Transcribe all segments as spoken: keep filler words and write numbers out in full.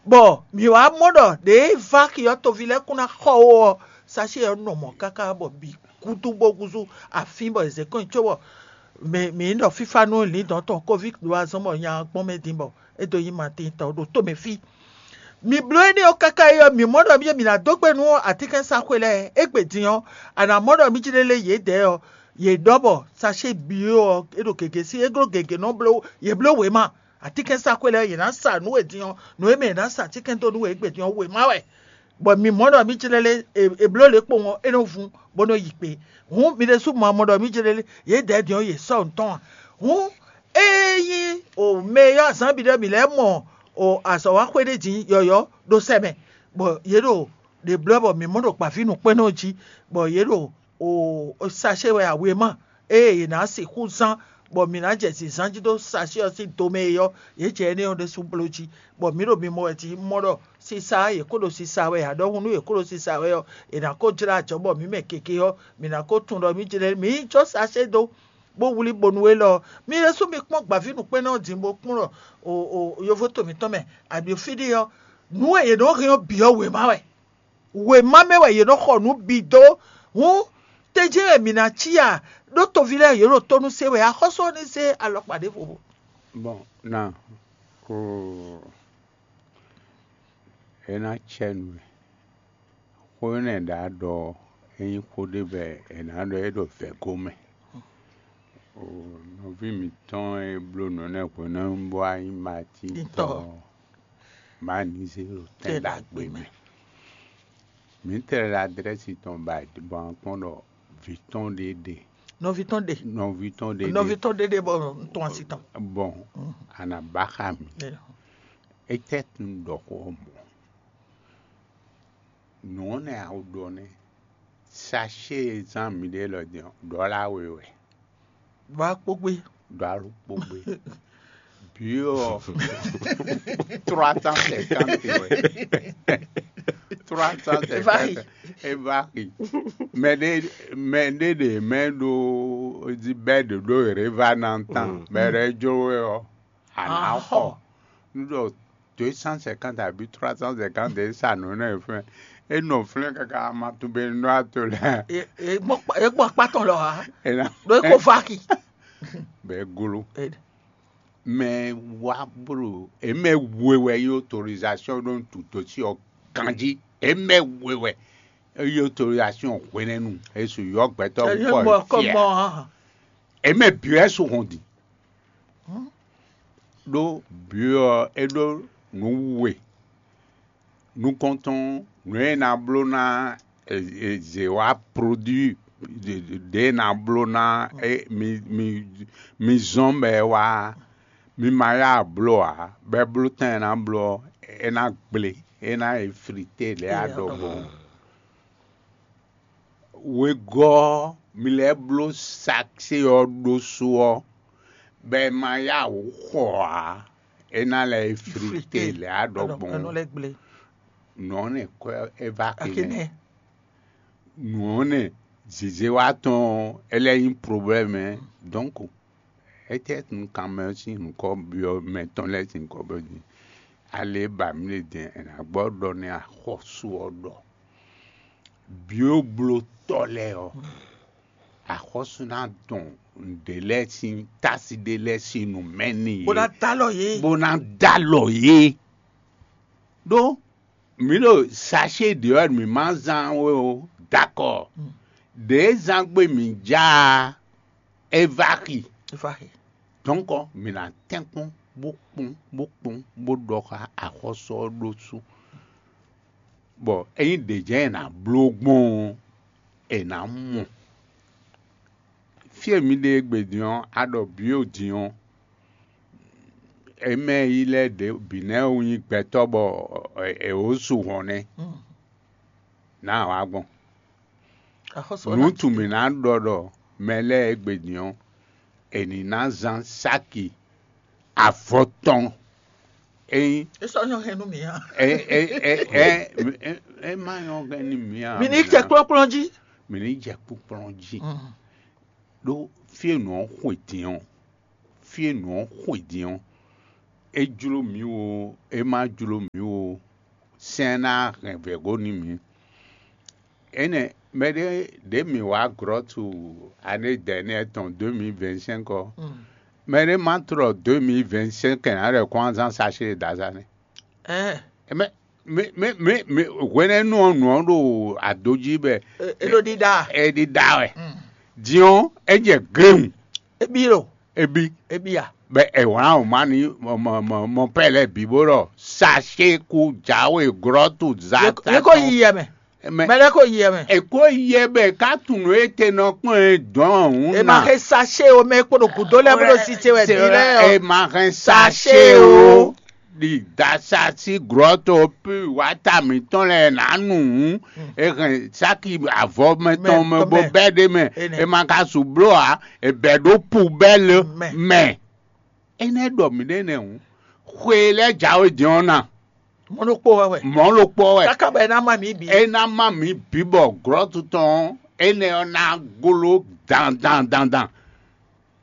Bɔ mǐ wá mɔ ɖɔ ɖěe Vaki ɔ́ toví lɛ́ɛ kún ná xɔ ó ɔ́, Sachée ɔ́ nɔ mɔ̌ káká bɔ bǐ gúdú bó gúzú afín bɔ è zě kɔn nyi cóbɔ mǐ mǐ ɖɔ fífá nú lǐndɔ̌n tɔn Covid ɖó azɔn bɔ nya ɔ́ gbɔn mɛ din bɔ é dó nyí Matín tɔn ɖo tomɛ fí. Mi bló énɛ́ ɔ́ káká é ɔ́, mǐ mɔ ɖɔ mì ná dó gbe nú atínkɛnsaxwé lɛ́ɛ égbé din ɔ́, a nǎ mɔ ɖɔ mì jlé lé yědɛɛ ɔ́, yě ɖɔ bɔ Sachée byɔ́ ɔ́ é ɖo gěgé sí, é gló gěgé nɔ bló yě bló wěma. Atínkɛnsaxwé lɛ́ɛ yě ná sa nǔ e din ɔ́, nǔ e mɛ è nǎ sa atínkɛn dó nú wɛ égbé din ɔ́ wěma wɛ. Bɔ mi mɔ ɖɔ mì jlé lé è bló lě kpowun ɔ́, é nɔ vun bó nɔ yi kpé. Hǔn mi ɖésú ma mɔ ɖɔ mì jlé lé yědɛɛ din ɔ́, yě sɔ́ nǔ tɔn a? Hǔn ényí o mɛ e ylɔ́ azǎn bǐ ɖɔ mǐ lɛ́ɛ mɔ o azɔ̌waxwé ɖé din yɔ̌yɔ́ ɖó sɛ́ mɛ, bɔ yě ɖo ɖě blɔ́ bɔ mǐ mɔ ɖo gbǎví nǔkpɛ́nnɔ jí, bɔ yě ɖo o sacé wɛ awěma ée yě ná sixú zán, bɔ mǐ ná jɛ zǐnzán jí dó sacé ɔ́ sín do mɛ é ɔ́, yě jɛ énɛ́ ɔ́ ɖésú bló jí, bɔ mǐ ɖo mimɔ wɛ jí mɔ ɖɔ sisa yě kó ɖo sisa wɛ ǎ, ɖɔhun nú yě kó ɖo sisa wɛ ɔ́, è nǎ kó jlá ajɔ̌ bɔ mǐ mɛ gěgé ɔ́, mǐ ná kó tunwun ɖɔ mí jlɛ́ mǐ yi jɔ́ sacé dó. Bó wlí bonu élɔ́ ɔ́, mi ɖésú mi kpɔ́n gbǎví nǔkpɛ́nnɔ ɔ́ din bó kpɔ́n ɖɔ o o yovo to mǐtɔn mɛ, aɖǒ fí ɖé ɔ́, nǔ e yě nɔ hɛn ɔ́ bǐ ɔ́ wěma wɛ. Wěma mɛ wɛ yě nɔ xɔ nǔ bǐ dó. Hǔn tɛ́njɛ́n wɛ mǐ ná cí a? Ɖó toví lɛ́ɛ yě ɖo tónú se wɛ, axɔ́sú ɔ́ ní zé alɔkpa ɖěvo. Bɔn na ko é ná cɛ nú we. Xó énɛ́ ɖǎ ɖɔ é nyí xó ɖé bɔ è nǎ ɖɔ é ɖo vɛ̌go mɛ. O nɔví mǐtɔn e bló nǔ énɛ́ hwenu bó wá nyí Matín tɔn ɔ́, má ní zé ɖo tɛn ɖagbe mɛ. Mǐ tlɛ ɖo adrɛ́si tɔn ba bɔ a kpɔ́n ɖɔ vǐ tɔn ɖé ɖe. Nɔví tɔn ɖe. Nɔví tɔn ɖé ɖe. Nɔví tɔn ɖé ɖe bɔ un tɔn asi tɔn. Bɔn a nǎ ba xá mì. Étɛ́ tun ɖɔ xó ɔ́ mɔ̌? Nǔ ɔ́ nɛ́ a ɖɔ nɛ́. Sacé e zán miɖée lɔ din ɔ́, ɖɔ̌la we wɛ. Ɖɔ̌la kpógbé. Ɖɔ̌la kpógbé. Bǐ ɔ́, trois cent cinquante wɛ. Trois cent cinquante. É va yi. Mɛ ɖé mɛ ɖé ɖe mɛ ɖo bɛ́ ɖě ɖó révanantan. Mɛ ɖé jló we ɔ́, a nǎ xɔ. Nú ɖɔ deux cent cinquante abǐ trois cent cinquante e sa nǔ nɛ fɛn. É nɔ flɛ́n káká ma tunwun be nɔ ato lɛ. É gbɔn akpá tɔn lɔ ha. Ɖó é ko va ki. Bɛ glo. Mɛ wá blo é mɛ we wɛ yi autorisation ɖó tutó sí ɔ ganjí. É mɛ we wɛ yi autorisation hwenɛ́nu. É su yɔ gbɛtɔ́ kɔ fiɛ. É mɛ bǐ wɛ su hɔn din. Ɖó byɔ́ ɔ́, é ɖó nǔ we. Nukɔntɔn nǔ e è nǎ bló ná zě wá produit ɖě è nǎ bló ná mi zɔ́n bɔ é wá. Mi ma yá bló ǎ, bɔ é bló tɛn e ná bló ɔ́, é ná gble, é ná yi flité lě a ɖɔ gbɔn. Wegɔ́ ɔ́, mi lɛ́ bló saksé ɔ́ ɖósú ɔ́, bɔ è ma yá wǔ xɔ ǎ, é ná lɛ́ yi flité lě a ɖɔ gbɔn. Nǔ ɔ́ nɛ kwɛ́ é va kínɛ. Nǔ ɔ́ nɛ zězé wá tɔn ɔ́, é lɛ́ nyí problème. Donc étɛ́ nú kanmɛ ɔ́ sín nyǐkɔ byɔ́ mɛ tɔn lɛ́ɛ sín nyǐkɔ byɔ́ din? Ale ba mǐ ɖe din è nǎ gbɔ ɖɔ nɛ́ axɔ́sú ɔ́ ɖɔ. Byɔ̌blótɔ́ lɛ́ɛ ɔ́, axɔ́sú ná dɔn nǔɖé lɛ́ɛ sín tási ɖé lɛ́ɛ sín nǔ mɛ n'i bó ná dó alɔ yě. Bó ná dó alɔ yě. Ɖó mǐ ɖo sachet ɖě ɔ́ mǐ ma zán we ó, dakɔ. Ɖě zán gbe mǐ já a, é va xi. Dɔ̌nkɔ mǐ ná tɛ́nkpɔ́n bó kpɔ́n bó kpɔ́n bó ɖɔ xá axɔ́sú ɔ́ ɖósú. Bɔ ényí ɖě jɛ́n è nǎ bló gbɔn ɔ́, è nǎ mɔ. Fí e mi ɖe égbé din ɔ́, a ɖɔ bǐ o din ɔ́, è mɛ yi lɛ́ɛ ɖě bǐ nɛ́ wú nyí gbɛtɔ́ bɔ è wǒ su hɔn nɛ́. Nǎ wǎ gbɔn. Nǔ tun mǐ ná ɖɔ ɖɔ mɛ lɛ́ɛ égbé din ɔ́, è nǐ ná zán sáki avɔ tɔn. Ényí é sɔ́ nyɔ́ hɛn nú mǐ ǎ. É é é é é é má nyɔ́ hɛn nú mǐ ǎ. Mi ní jɛ kplɔ́kplɔ́n jí. Mi ní jɛ kplɔ́kplɔ́n jí. Ɖó fí e nǔ ɔ́ xwe din ɔ́, fí e nǔ ɔ́ xwe din ɔ́, É jló mǐ o, é má jló mǐ o, sɛ́n ná hɛn vɛ̌go nú mǐ. Énɛ́ mɛɖé ɖě mǐ wá glɔ́tu ané dɛ̌nɛ tɔn deux mille vingt-cinq ɔ́, mɛɖé má tlɔ deux mille vingt-cinq ǎ ɖɔ kɔn azán sachet e dǎ zán nɛ́. Ɛɛ, Mɛ mɛ mɛ mɛ mɛ hwenɛ́nu ɔ́ nǔ ɔ́ ɖo ado jí bɛ é ɖo ɖiɖa. É ɖiɖa wɛ. Din ɔ́, é jɛ gléhùn, Ebi lo, é bí. É bí a? Bɛ è wlǎn wěma n'i mɔ mɔ mɔ mɔ pɛ́ lɛ́ɛ bǐ bó ɖɔ sachet kú jǎwe glɔ́tu zá Yě kó yi yɛ mɛ. Mɛ Mɛ lɛ́ɛ kó yi yɛ mɛ. È kó yɛ bɛ ká tunwun étɛ́ nɔ kplɔ́n ɛ dɔn ɔ́ hǔn È ma na. Hɛn sachet o, mɛ e kpo ɖo gǔdo lɛ́ɛ bó ɖo si ce wɛ din lɛ́ɛ ɔ́. È ma hɛn Sachet sachet o. O. Ɖi dasa sí glɔ́to pí wǎta mǐtɔn lɛ́ɛ nǎ nu hǔn. È hɛn sáki avɔ mɛ tɔn mɛ bó bɛ́ ɖ'é mɛ. È ma ka su bló ǎ. È bɛ̌ ɖó pubɛ́lu mɛ. Énɛ́ ɖɔ mǐ ɖe nɛ́ hǔn, xwe e lɛ́ jǎwe din ɔ́ na. Mɔ̌ ɖokpó wɛ wɛ. Mɔ̌ ɖokpó wɛ. Káká bɔ é ná má mǐ bǐ. É ná má mǐ bǐ bɔ glɔ́tu tɔn ɔ́, énɛ́ ɔ́ ná gló dandan dandan.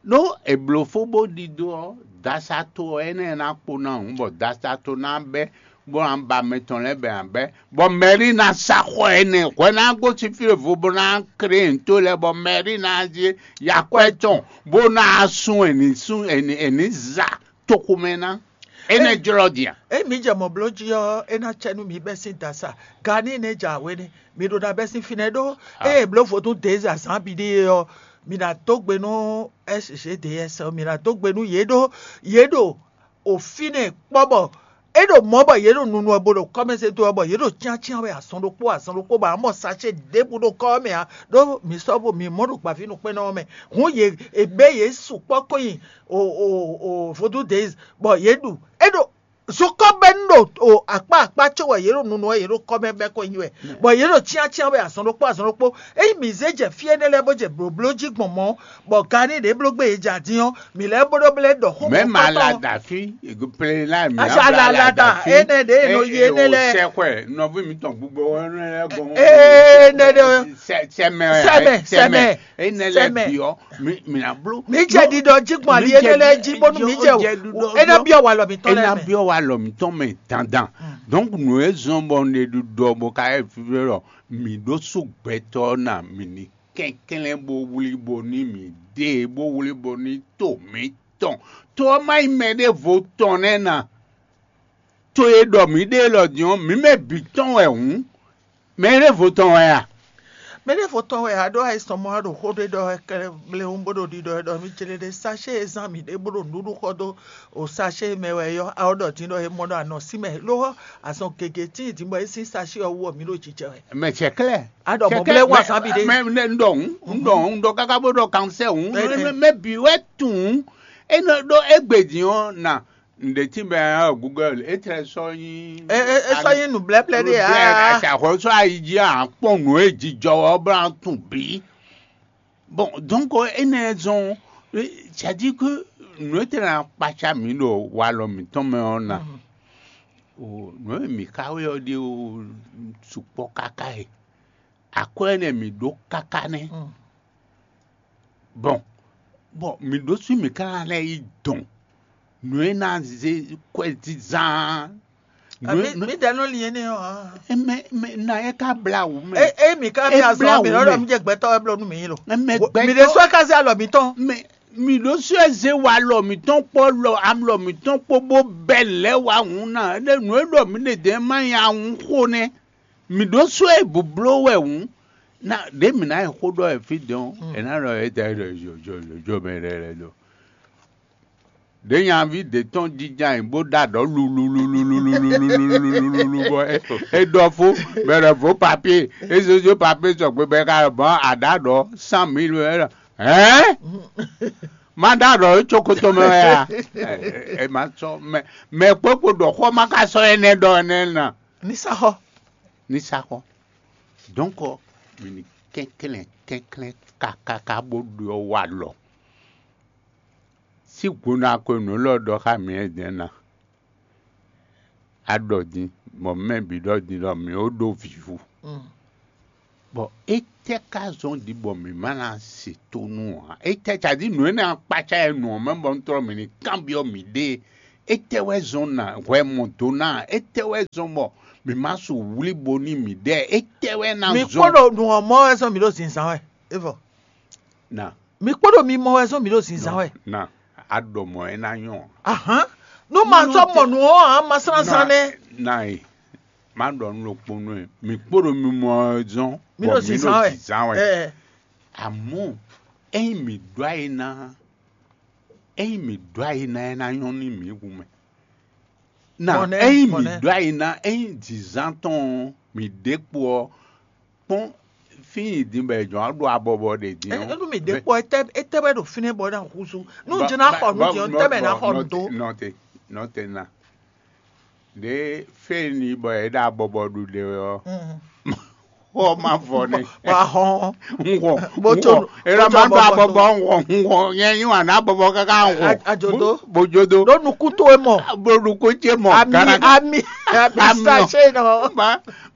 Ɖó è blǒ fó bó ɖidó ɔ́, dasato ɔ́ énɛ́ ná kpo ná hǔn, bɔ dasato ná bɛ́, bó ná ba mɛ tɔn lɛ́ɛ bɛ ná bɛ́, bɔ Mɛlí ná sá xɔ énɛ́ hwɛ ná gosín fí e vo bó ná klé nǔto lɛ́ɛ, bɔ Mɛlí ná zé yakwɛ́ tɔn bó ná sun è nǐ sun è nǐ è nǐ za toxomɛ ná. Énɛ́ jlɔ́ din a? Ényí mǐ jɛ mɔ̌ bló jí ɔ́, é ná cɛ nú mǐ bɛ́ sín dasa. Gani nɛ́ jɛ awě nɛ́, mǐ ɖo ná bɛ́ sín fínɛ́ ɖó ée è blǒ vodún Dez azǎn bǐ ɖíe ɔ́, mǐ ná dó gbe nú S G D S ɔ́, mǐ ná dó gbe nú yě ɖó yě ɖo o fínɛ́ kpɔ́ bɔ é ɖo mɔ̌ bɔ yě ɖo nunu ɔ́ bo ɖo kɔ́mɛzédó ɔ́ bɔ yě ɖo cyáncyán wɛ azɔn ɖokpó azɔn ɖokpó bɔ amɔ sachet ɖěbǔ ɖo kɔ́ ɔ́ mɛ ǎ, ɖó mǐ sɔ́ vo mǐ mɔ ɖo gbǎvínukpɛ́nnɔ ɔ́ mɛ. Hǔn yě è bɛ́ yě sukpɔ́ kó nyi o o o vodún Dez bɔ yě ɖu é ɖo zokɔ́ bɛ́ nu ɖo o akpá akpá có wɛ yě ɖo nunu wɛ yě ɖo kɔ́ mɛ bɛ́ kɔn nyi wɛ, bɔ yě ɖo cyáncyán wɛ azɔn ɖokpó azɔn ɖokpó. Ényí mǐ zé jɛ fí énɛ́ lɛ́ɛ bó jɛ blǒbló jí gbɔn mɔ̌, bɔ gani ɖě bló gbé yě jɛ adin ɔ́, mǐ lɛ́ bó ɖó blɛ́ ɖɔ xó Mɛ ma la da fí, plé la mi Aza la la da énɛ́ ɖě e nɔ yi énɛ́ lɛ́ɛ. Sɛkɔɛ nɔví mi tɔn gbogbo ɔnɛ lɛ gɔn. Énɛ́ ɖe Sɛ- sɛmɛ Sɛmɛ, sɛmɛ. Énɛ́ lɛ Sɛmɛ. Biɔ mi mi na bló. Mǐ jɛ ɖiɖɔ jí gbɔn ali énɛ́ lɛ́ɛ jí bónú mǐ jɛ é ná byɔ́ walɔ mǐtɔn é lɛ́ɛ ná mɛ. Byɔ́ walɔ mǐtɔn mɛ dandan. Donc nǔ e zɔ́n bɔ un ɖe ɖiɖɔ bó ka yɛ fífí ɖɔ mǐ ɖó sú gbɛtɔ́ ná mǐ ní kɛnklɛ́n bó wlí bo ní mǐ ɖe bó wlí bo ní to mǐ tɔn. To ɔ́ má nyí mɛ ɖěvo tɔn nɛ́ ná. To e ɖɔ mǐ ɖe élɔ́ din ɔ́, mǐ mɛ bǐ tɔn wɛ hǔn. Mɛ ɖěvo tɔn wɛ a? Mɛ ɖěvo tɔn wɛ a ɖó ayisɔnmɔ a ɖo xó ɖé ɖɔ wɛ kɛlɛ bléwún bó ɖo ɖiɖɔ wɛ ɖɔ mí jlé ɖé sachet e zán mǐ ɖe bó ɖo nǔɖuɖu xɔ dó o sachet e mɛ wɛ yɔ a ó ɖɔ din ɖɔ é mɔ ɖɔ anɔ sí mɛ lóhɔ azɔn gěgé tíin din bɔ é sín sachet ɔ́ wú ɔ mǐ ɖo jijɛ wɛ. Mɛ cɛ klɛ́. A ɖɔ mɔ blé wá sábì ɖé. Mɛ mɛ un ɖɔ hǔn, un ɖɔ hǔn, un ɖɔ káká bó ɖɔ kansɛ hǔn. Mɛ bǐ wɛ tunwun. É nɔ ɖó égbé din ɔ́ na ǹɖe tí bɛ ɔ́ Google é tlɛ sɔ nyi. É é é sɔ nyi nǔblɛ́blɛ́ ɖé aa. Àṣàkóso ayi jí à ń kpɔn nǔ e jijɔ ɔ́ bó ná tún bǐ. Bon, donc énɛ́ zɔn, c'est-à-dire que nǔ e tɛ́ ná kpácá mǐ ɖo walɔ mǐtɔn mɛ ɔ́ ná. O nǔ e mǐ xa wɛ ɔ́ ɖíe o sukpɔ́ káká e. Akwɛ́ énɛ́ mǐ ɖó káká nɛ́. Bon, bon, mǐ ɖó sú mǐ ka ná lɛ́ yi dɔn nǔ e ná zé kwɛzizán. Mǐ dɛ́ nɔ lin énɛ́ ɔ́ ǎ. Mɛ mɛ na é ka blá wǔ mɛ. É é mǐ ka É blá azɔn mǐ blá wǔ lɔ ɖɔ mɛ. Mí jɛ gbɛtɔ́ wɛ bló nú mǐ lo. Mɛ Mǐ ɖé gbɛtɔ́ sɔ́ ká zé alɔ mǐtɔn. Mɛ mǐ ɖó sú ɛ zé wa alɔ mǐtɔn kpó lɔ alɔ mǐtɔn kpó bó bɛ́ lɛ̌ wá hǔn ná. Éɖé nǔ e ɖɔ mǐ ɖe dɛ̌n má nyí ahun xó nɛ́. Mǐ ɖó sú ɛ bǔbló wɛ hǔn. Ná ɖě mǐ ná yi xó ɖɔ ɛ fí dɔn. È nǎ ɖɔ é tɛ é ɖɔ jo jo jo jo mɛ ɖɛ lɛ do. Ɖě nyaví ɖě tɔn jínjɔ́n ayǐ bó ɖó aɖɔ̌ lululululululululululu bɔ é é ɖɔ fó bɛlɛ vǒ papie é zózó papie sɔgbe bɛ ka bɔn aɖǎ ɖɔ cent mille wɛ ɖɔ hɛn má ɖó aɖɔ̌ é có kótó mɛ wɛ a. Ɛ má sɔ mɛ mɛ kpókpo ɖɔ xɔ má ka sɔ énɛ́ ɖɔ énɛ́ ná. Ní sá xɔ. Ní sá xɔ. Donc mǐ ní kɛnklɛ́n kɛnklɛ́n kakaka bó ɖɔ wa lɔ. Sí gbo ná ko nǔ lɔ ɖɔ xá mǐ ɛ dɛ̌n ná. A ɖɔ din, bɔ mɛ bǐ ɖɔ din ɖɔ mǐ ó ɖó vǐvú. Bɔ étɛ́ ka zɔ́n din bɔ mǐ ma ná se tónú ǎ? Étɛ́ tají nǔ énɛ́ ɔ́ kpácá ɛ nǔ ɔ́ mɛ bɔ un tlɔ́ mǐ ní kanbyɔ́ mǐɖée Étɛ́ wɛ zɔn na hwɛ mɔ do ná? Étɛ́ wɛ zɔn bɔ mǐ ma su wlíbo n'i mǐɖée? Étɛ́ wɛ ná Mi zɔn? Kpɔ́n ɖo nǔ ɔ́ mɔ wɛ zɔn mǐ ɖo zǐnzán wɛ. É vɔ. Na. Mi kpɔ́n ɖo mi mɔ wɛ zɔn mǐ ɖo zǐnzán wɛ. Na. A ɖɔ mɔ̌ é ná nyɔ́. Ahán. Nú ma sɔ́ mɔ nǔ ɔ́ ǎ, ma slán zán nɛ́. Na e. Má ɖɔ nú ɖokpó nú ɛ. Mǐ kpó ɖo mi mɔ ɔ́ zɔn. Mǐ ɖo zǐnzán wɛ. Zǐnzán wɛ. Ɛ. Amɔ̌, ényí mǐ ɖó ayi ná, ényí mǐ ɖó ayi ná, é ná nyɔ́ nú mǐ hu mɛ. Na, ényí mǐ ɖó ayi ná, ényí zǐnzán tɔn ɔ́, mǐ ɖe kpo ɔ́, kpɔ́n fí nyi din bɔ è jɔ̌n ɔ́ ɖo abɔbɔ ɖe din ɔ́. Enu mǐ ɖe kpo ɔ́, étɛ́ wɛ ɖo fínɛ́ bɔ é ná húzú? Nú jɛ ná xɔ nǔ din ɔ́, tɛ́ mɛ ná xɔ nǔ dó? Nɔte, nɔte na. Ɖě fé ni bɔ è ɖo abɔbɔ ɖu ɖe wɛ ɔ́, xɔ ma vɔ nɛ. Bɔ a hɔn. Un xɔ. Bó tso. Ela ma ɖo abɔbɔ, un xɔ, un xɔ. Nyɛ nyi wǎn ná abɔbɔ káká un xɔ. Ajodo. Bó jodo. Ɖó nukún towe mɔ. Bó nukún ce mɔ. Ami, ami, ami sachet nɔ.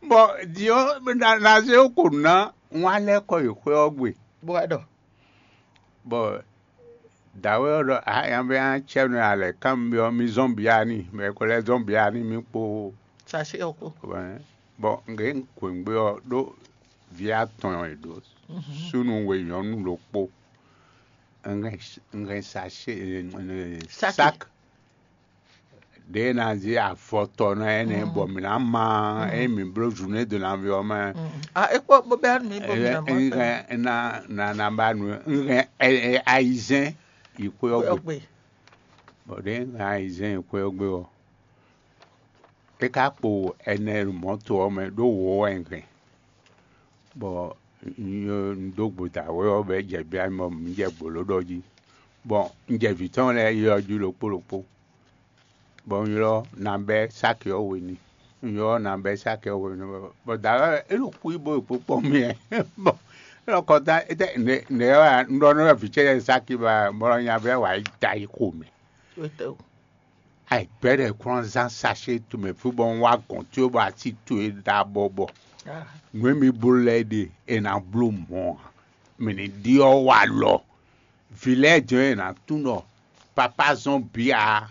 Bɔ diɔ na se ko na ŋun alɛ kɔ yi xwé ɔ́ gbe. Bó wá ɖɔ. Bɔ dǎwe ɔ́ ɖɔ: "A nya bɛ nya cɛ nɔ alɛ kán mi byɔ́ mi zɔ́n bǐ a ní, mɛ ko lɛ́ zɔ́n bǐ a ní mi kpo." Sachet ɔ́ kpo. Bɔ un gě un kwěngbe ɔ́ ɖó vǐ atɔn e ɖó súnnu we nyɔ̌nu ɖokpó. Un hɛn un hɛn sachet, Saki. Sak. Ɖě e ná zé avɔ tɔn ná énɛ́ bɔ mǐ ná ma ényí mǐ bló zǔnú e do ná vɛ ɔ́ mɛ. A é kpó bó bɛ́ mi bó mi ná mɔ. Un hɛn na na na ba nǔ, un hɛn ayizɛ́n yi xwé ɔ́ gbe. Bɔ ɖěe un hɛn ayizɛ́n yi xwé ɔ́ gbe ɔ́, é ka kpo ɛnɛ ɖo mɔ̌to ɔ́ mɛ ɖó wǒ wɛ un hɛn. Bɔ un dó gbo dǎwe ɔ́ bɔ é jɛ bia mì bɔ mǐ jɛ gbǒló ɖɔ jí. Bɔ un jɛ vǐ tɔn lɛ́ɛ yi ɔ́ jí ɖokpó ɖokpó. Bɔ un ylɔ́ nabɛ́ sáki ɔ́ we n'i. Un ylɔ́ nabɛ́ sáki ɔ́ we n'i, bɔ dǎwe ɔ́, é ɖo xwí bó ɖo kpókpɔ́ mì wɛ. Bɔ é ɖɔ kɔta étɛ́ nɛ̌ wɛ un ɖɔ nú vǐ ce lɛ́ɛ sáki ba bɔ nya vɛ́ wǎ yi da yi xo mɛ. Ayǐgbɛ́ ɖɛ kplɔ́n zán sachet tomɛ fí bɔ un wá gɔ̌n towe bɔ asi towe ɖo abɔbɔ. Nǔ e mi bló lɛ́ɛ ɖe è nǎ bló mɔ̌ ǎ. Mǐ ní ɖyɔ́ wa alɔ. Vǐ lɛ́ɛ jɛ́n è nǎ tunwun ɖɔ papá zɔ́n bǐ ǎ.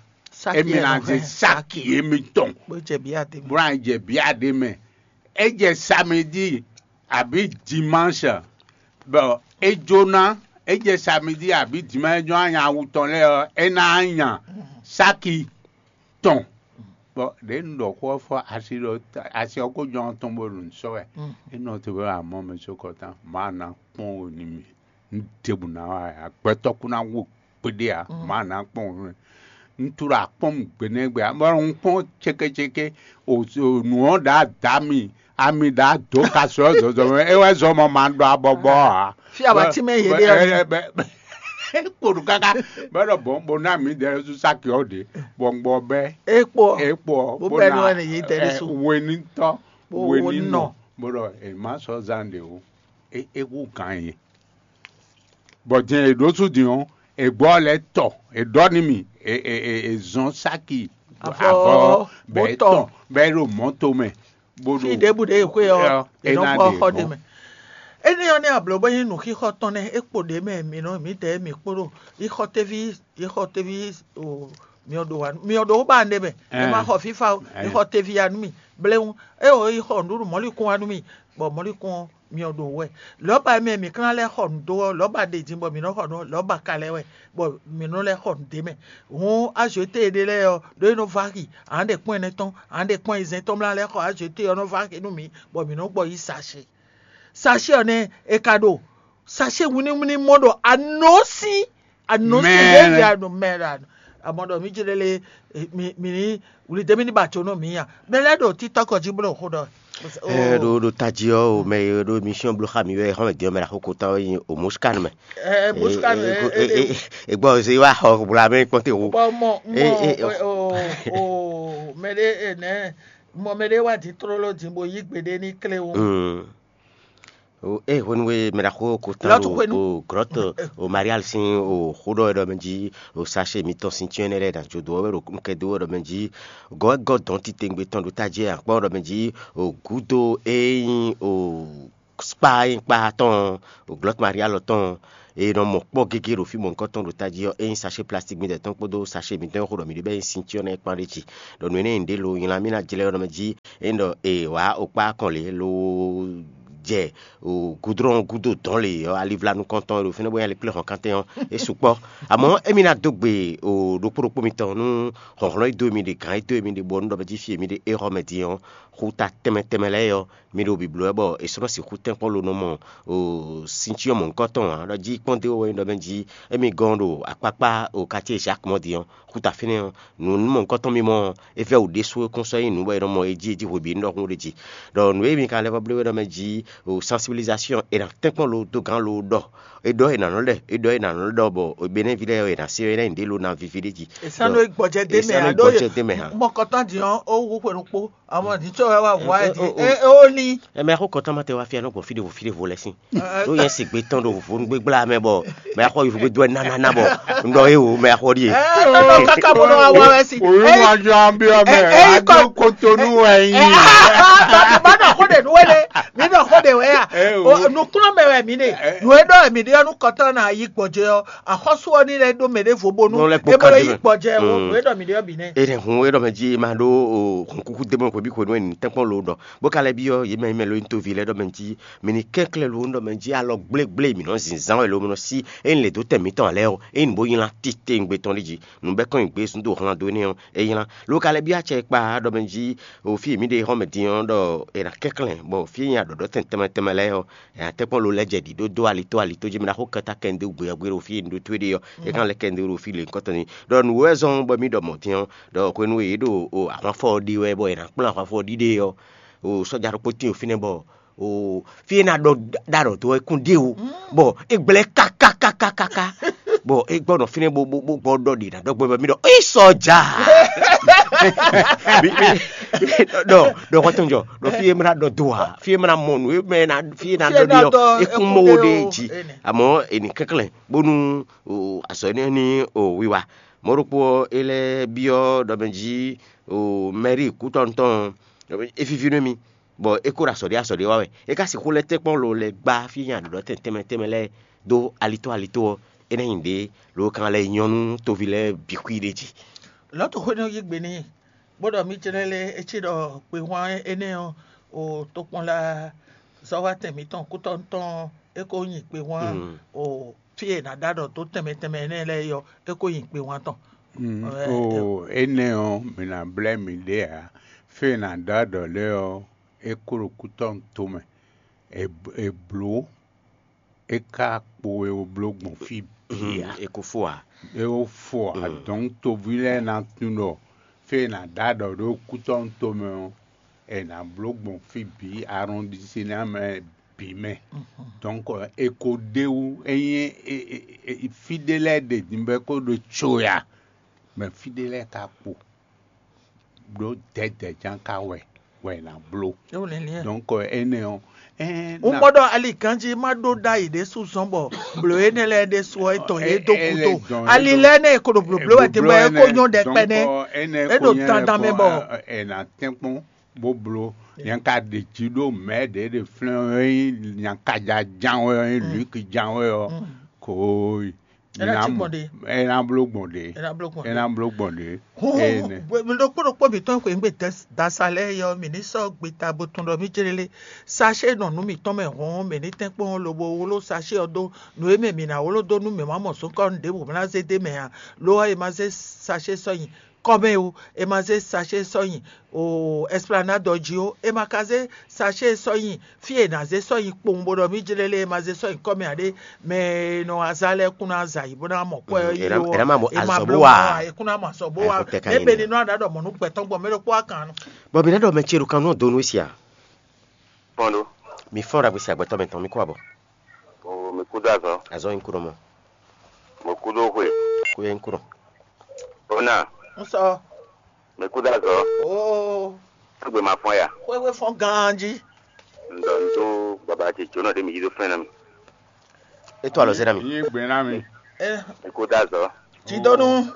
Émí ná zé sáki émítɔn bó ná jɛ bíá ɖé mɛ. É jɛ samedi abǐ dimanche bɔ é jó ná, é jɛ samedi abǐ dimanche é jó ná nya awu tɔn lɛ́ɛ ɔ́, é ná nya sáki tɔn. Bɔ ɖě un ɖɔ xó ɔ́ fɔ asi ɖɔ asi ɔ́ kó jɔ́n tɔn bó ɖo nǔ sɔ́ wɛ. É nɔ te bɔ amɔ́ mɛ só kɔtán, mǎ ná kpɔ́n wo n'i mì. Un ɖěbǔ ná wa ǎ, gbɛtɔ́ kún ná wú kpéɖé ǎ, mǎ ná kpɔ́n wo n'i. Un tló akpɔ́n gbe nɛ́ gbe ǎ, bɔ un kpɔ́n cékécéké, nǔ ɔ́ ɖǎ dǎ mi, ami ɖǎ dǒ ka sɔ́ zɔzɔ mɛ, é wɛ zɔ mɔ ma ɖɔ abɔbɔ ǎ. Fí abatí mɛ yě ɖe ɔ́. Kpo ɖu káká bɔ é ɖɔ bɔn bó ná mǐ dɛ sú sáki ɔ́ ɖě, bɔ un gbɔ bɛ́. É kpo ɔ́, é kpo ɔ́, bó bɛ́ nú ɛnɛ yě dɛ ɖésú. Wenítɔ́, bó wenínɔ, bó ɖɔ è má sɔ́ zán ɖě ó. É é hú gǎn yě. Bɔ din è ɖǒ sú din ɔ́, è gbɔ lɛ́ tɔ, è ɖɔ n'i mì, è è è è zɔn sáki avɔ bɛ tɔn bɛ ɖo mɔ̌to mɛ. Fí ɖěbǔ ɖě e xwé ɔ́, è nɔ kpɔ́ xɔ ɖé mɛ. Énɛ́ ɔ́ nɛ́ ablǒ bó nyí nǔxixɔ tɔn nɛ́, é kpo ɖě mɛ mǐ nɔ mǐdɛɛ mǐ kpóɖo yixɔtéví yixɔtéví o myɔ ɖo wa myɔ ɖo ba nɖé mɛ. È ma xɔ fífá o, yixɔtéví ya nú mì. Bléwún é o yi xɔ nǔɖuɖu mɔ̌likún wa nú mì, bɔ mɔ̌likún ɔ́ myɔ ɖo wɛ. Lɔ̌ba e mɛ mǐ ka ná lɛ́ xɔ nǔ dó ɔ́, lɔ̌ba ɖě din bɔ mǐ nɔ xɔ nǔ ɔ́, lɔ̌ba ka lɛ́ɛ wɛ, bɔ mǐ nɔ lɛ́ xɔ nǔ d'é mɛ. Hǔn azwěté ɖé lɛ́ɛ ɔ́, ɖó é nɔ vá xi, a nǎ ɖe kpɔ́n ɛnɛ tɔn, a nǎ ɖe kpɔ́n ayizɛ́n tɔn mlá lɛ́ɛ xɔ azwěté ɔ́ nɔ vá xi nú mǐ, bɔ mǐ nɔ gbɔ yí sa ṣe. Sachet ɔ́ nɛ́ è ka ɖo sachet wínníwínní mɔ ɖo anɔ̌sin anɔ̌sin ɖěvi anɔ mɛ ɖo anɔ. Amɔ ɖɔ mí jlé lé mi mi ní wlidémí ní ba tso nɔ mǐ a? Mɛ lɛ́ɛ ɖo títɔ́ kɔ jí bó ɖo xó ɖɔ. Ɛ ɖo ɖo tají ɔ́ o mɛ e ɖo émission bló xa mi wɛ xɔmɛ din ɔ́ mɛ ɖo axoko tɔn ɔ́ nyi o Muscan mɛ. Ɛ Muscan ɛ ɛ ɛ ɛ gbɔ ɔ́ zé wá xɔ wla mɛ kpɔ́n te wo. Bɔ mɔ mɔ o o mɛ ɖé ɛ nɛ mɔ mɛ ɖé wá dín tlóló dín bo yí gbeɖé ní klé wo. Ée hwenu e mɛ ɖaxó ko tán ɖo glɔ̌t o Marial sín o xó ɖɔ wɛ ɖɔ mɛ jí o sachet mitɔn sín cyɔ́n énɛ́ lɛ́ɛ ɖo ajo dó wɛ ɖo nukɛn dó wɛ ɖɔ mɛ jí gɔ̌ wɛ gɔ́ dɔ̌n titewungbe tɔn ɖo tají wɛ akpɔ́n ɖɔ mɛ jí o gǔdo e nyí o kpá e nyí kpá tɔn o glɔ̌t Marial tɔn e nɔ mɔ kpɔ́ gégé ɖo fí mɔ̌hunkɔtɔn ɖo tají ɔ́, é nyí sachet plastique mǐtɔn tɔn kpódó sachet mǐtɔn e xo ɖɔ mǐ ɖe bɛ́ nyí sincyɔ́ nɛ́ kpán ɖé jí. Ɖɔ nǔ énɛ́ e un ɖe lo nylá mì ná jlɛ́ ɔ́ nɔ mɛ jí, é nyí ɖɔ è wǎ okpá kɔn lě lo jɛ gudlɔ́n gúdo dɔ̌n lě ɔ́, alivla nukɔntɔn e ɖo fínɛ́ bó nyí alikpléhɔ̌nkantɛn ɔ́, é sukpɔ́. Amɔ̌ émí ná dó gbe ɖokpó ɖokpó mitɔn nú hlɔ̌nhlɔ́n e dó mi ɖe, gǎn e dó mi ɖe, bɔ nú ɖɔ mɛ jí fí e mi ɖe é xɔ mɛ din ɔ́, xuta tɛnmɛ tɛnmɛ lɛ́ɛ ɔ́, mi ɖo bǐbló wɛ bɔ è sɔ́ nɔ sixú tɛ́nkpɔ́n lo nɔ mɔ sincyɔ́n mɔ̌hunkɔtɔn ǎ. Ɖɔ jí kpɔ́n dó wɛ nyí ɖɔ mɛ jí émí gɔ́n ɖo akpákpá o quartier Jacques mɔ din ɔ́, xuta fínɛ́ ɔ́, nǔ mɔ̌hunkɔtɔn mímɔ ɔ́, é vɛ́ wǔ ɖésú é kún sɔ́ nyí nǔ bɔ è nɔ mɔ é jí é jí hweví nú ɖɔ hún ɖé jí. Ɖɔ nǔ e mi ka lɛ́ vɔ bló é ɖɔ mɛ jí o sensibilisation è nǎ tɛ́nkpɔ́n lo dó gǎn lo ɖɔ, é ɖɔ è nǎ nɔ ɖɛ, é ɖɔ è nǎ nɔ ɖɔ bɔ Benɛ́ví lɛ́ɛ è nǎ se ɔ́ é ná nyí ɖě lo ná víví ɖé jí. È sán ɖó é gbɔjɛ dé mɛ ǎ ɖó gbɔjɛ dé mɛ hã. Mɔkɔtɔn din ɔ́ ó wú xwe ɖokpó. Àwọn ní tsɔ wá wá wá ẹ di. Ẹ ó ní. Ẹ mɛ xó kɔtɔn ma tɛ wá fia nɔ gbɔn fide vo fide vo lɛ sin. Ɖó yẹn si gbe tɔn ɖo vo nugbe gbla mɛ bɔ mɛ xɔ yi vo gbe dɔ ɛ nanana bɔ n ɖɔ e o mɛ xɔ ɖi e. Ẹ ẹ nɔ kaka bó nɔ wá wá wá si. Oyún wa jọ an bí ọmọ ẹ ẹ yí kọ kotonu wẹ yín. Bá nɔ xó de nú wẹ́lẹ̀, mí nɔ xó de wẹ́ yà. Nukúnlọ́ mɛ wɛ mí de. Nù é ɖɔ mí ɖe ɔnú kɔtɔn náà yí gbɔ̀jẹ́ ɔ. Àkọ́sù ɔ ní lɛ ɖó mɛ ɖé vo bónú. Nɔ lɛ kpó ébó lɔ kadé yí mɛ. Gbɔ̀jẹ́ wo. Nù é ɖɔ mí ɖe ɔ bì nɛ. E ɖe hun e ɖɔ mɛ jí ma ɖó o hun kuku dé mɔ hwebi hwenu e ní tɛnkpɔn lo ɖɔ bó ka lɛ byɔ́ yě mɛ yě mɛ lo nyí toví lɛ́ɛ ɖɔ mɛ jí mi ní kɛnklɛ́n lo ɖɔ mɛ jí alɔ gblégblé mi nɔ zinzán wɛ lo mi nɔ sí ényí lě dó tɛn mǐtɔn ǎ lɛ́ɛ ɔ́, ényí bó nylá titewungbe tɔn ɖi jí nǔ bɛ́ kɔn nyi gbé zún dó hlan dó énɛ́ ɔ́, é nylá. Lo ka lɛ byɔ́ acɛ e kpa ɖɔ mɛ jí o fí e mǐ ɖe xɔ́ mɛ din ɔ́ ɖɔ è nǎ kɛnklɛ́n bɔ fí e nyi aɖɔ̌ɖɔ́tɛn tɛnmɛ tɛnmɛ lɛ́ɛ ɔ́, è nǎ tɛ́nkpɔ́n lo lɛ́ jɛ ɖǐ ɖó dó alitó alitó jí mi ná xó kɛta kɛnɖé gbe ɔ́ gbe ɖo fí e un ɖó towe ɖe ɔ́, é kán lɛ́ kɛnɖé ɖo fí lě nyǐkɔ tɔn ní. Ɖɔ nǔ wɛ zɔ́n bɔ mǐ ɖɔ mɔ̌ din ɔ́, ɖɔ hwenu e yě ɖo o ahwanfɔ ɔ́ ɖe wɛ bɔ è nǎ kplɔ́n ahwanfɔ ɔ́ ɖiɖe ɔ́, o sɔ́ja ɖokpó tín fínɛ́ bɔ o fí e ná ɖɔ ɖaɖɔ dó ɔ́ é kún ɖe o, bɔ é gblɛ́ kákákákáká, bɔ é gbɔ nɔ fínɛ́ bó bó bó gbɔ ɖɔ ɖě ná ɖɔ gbɛ bɔ mí ɖɔ é sɔ́ja. Mi- mi- mi- ɖɔ ɖɔ xɔtɔn jɔ ɖɔ fí e mla ɖɔ do a fí e mla mɔ nǔ e mɛ na fí e na Fí e ɖɔ ná ɖi ɔ ɖɔ é kún mɔ wo ɖe o, jí. Amɔ̌ è ní kɛnklɛ́n bónú o azɔ̌ énɛ́ ní o wiwa. Mɔ̌ ɖokpó ɔ́, é lɛ́ byɔ́ ɖɔ mɛ jí o mɛrí kútɔ́nu tɔn ɔ́, é víví nú émí, bɔ é kó ɖo azɔ̌ ɖé azɔ̌ ɖé wa wɛ. É ka sixú lɛ́ tɛ́nkpɔ́n lo lɛ́ gbá fí nyi aɖǔɖɔ́tɛn tɛnmɛ tɛnmɛ lɛ́ɛ dó alitó alitó ɔ́, é ná nyi ɖě lo kan lɛ́ nyɔ́ nú toví lɛ́ɛ bǐ xwí ɖé jí. Lɔ̌tu xwé nɔ yí gbe n'i, bó ɖɔ mí jlɛ́ lé é cí ɖɔ kpehwan énɛ́ ɔ́, o tokpɔnla zɔ́wátɛn mǐtɔn kútɔ́nu tɔn ɔ́, é ko nyi kpehwan o fí e è nǎ ɖó aɖɔ dó tɛnmɛ tɛnmɛ énɛ́ lɛ́ɛ é ɔ́, é ko nyi kpehwan tɔn. Mm, Ɛ, o énɛ́ ɔ́, mǐ ná blɛ́ mǐɖée ǎ. Fí e è nǎ ɖó aɖɔ lɛ́ɛ ɔ́, é kó ɖo kútɔ́nu tomɛ. È è blǒ, é ka kpo e wǒ bló gbɔn fí bǐ ǎ. É ko fó ǎ. É wó fó ǎ. Dɔ̌n toví lɛ́ɛ ná tunwun ɖɔ fí e è nǎ ɖó aɖɔ ɖó kútɔ́nu tomɛ ɔ́, è nǎ bló gbɔn fí bǐ arɔndisina mɛ bǐ mɛ. Dɔ̌nkɔ è ko ɖ'é wú, ényí fí ɖé lɛ́ɛ ɖe din bɔ é ko ɖo co ya, mɛ fí ɖé lɛ́ɛ ka kpo ɖó dɛ̌dɛ̌ ján ka wɛ wɛ è nǎ bló. Dɔ̌nkɔ énɛ́ ɔ́, Un mɔ ɖɔ ali ganjí ma ɖó ɖ'ayǐ ɖésú zɔ́n bɔ blǒ énɛ́ lɛ́ɛ ɖésú ɔ́, é dɔn yě dó gúdo. Ali lɛ́ɛ nɛ́ è ko ɖo blǒbló wɛ din bɔ é ko nyɔ́ ɖɛkpɛ nɛ́. É ɖo dandan mɛ bɔ è nǎ tɛ́nkpɔ́n bó bló. Nya ka ɖe jǐ ɖó mɛ̌ ɖě ɖe flɛ́n ɔ́, é nyí nyakaja ján wɛ ɔ́, é nyí lǔki ján wɛ ɔ́, kooyi. É ná cí gbɔn ɖe. É ná bló gbɔn ɖe. É ná bló gbɔn É ɖe. Ná bló gbɔn ɖe. Hɔn Ene. Ɖokpó ɖokpó mǐtɔn xweyǐgbe dasa lɛ́ɛ yɔ mǐ ní sɔ́ gbeta bo tun ɖɔ mí jlélé. Sachet nɔ nǔ mǐtɔn mɛ hɔn mǐ ní tɛ́nkpɔ́n lobo wló sachet ɔ́ dó nǔ e mɛ mǐ ná wló dó nú mǐ ma mɔ zɔ̌nkɔ́nu ɖěbǔ bó ná zé dó mɛ ǎ. Lo ɔ́, è ma zé sachet sɔ́ nyi kɔ́mɛ ó, è ma zé sachet sɔ́ nyi o esplanade ɔ́ jí ó, è ma ka zé sachet sɔ́ nyi fí e è nǎ zé sɔ́ nyi kpowun bó ɖɔ mí jlélé è ma zé sɔ́ nyi kɔ́mɛ ǎ ɖé, mɛ e nɔ wá zá lɛ́ɛ kún ná za yǐ bó ná mɔ kwɛ́ ɔ́ yi ó, è nǎ mɔ azɔ̌ bó wa. È kún ná mɔ azɔ̌ bó wa. Mɛ bɛ́ ní nɔ aɖǎ ɖɔ mɔ̌ nú gbɛtɔ́ gbɔn mɛ ɖokpó wá kan nɔ. Bɔ mǐ ná ɖɔ mɛ ce ɖo kan nú ɔ́ donu wɛ sia. Fɔ́n ɖó. Mi fɔ́n ɖagbe sia gbɛtɔ́ mɛtɔn mi kó abɔ. O mi kúdó azɔ̌. Azɔ́ nyi kúɖɔ mɔ. Mo kúdó xwe. Kó yɛ nyi kúɖɔ. Ó nà. Ń sɔ. Mi kúdó azɔ̌. Oo. Égbe ma fɔ́n ya. Xwéxwé fɔ́n ganjí. Ŋdɔ ŋdó baba ce jónɔ ɖé mi yí dó fɛn ná mi. É tó alɔ zé ná mi. Yín gbé ná mi. Ɛ Mi kúdó azɔ̌. Jidonu.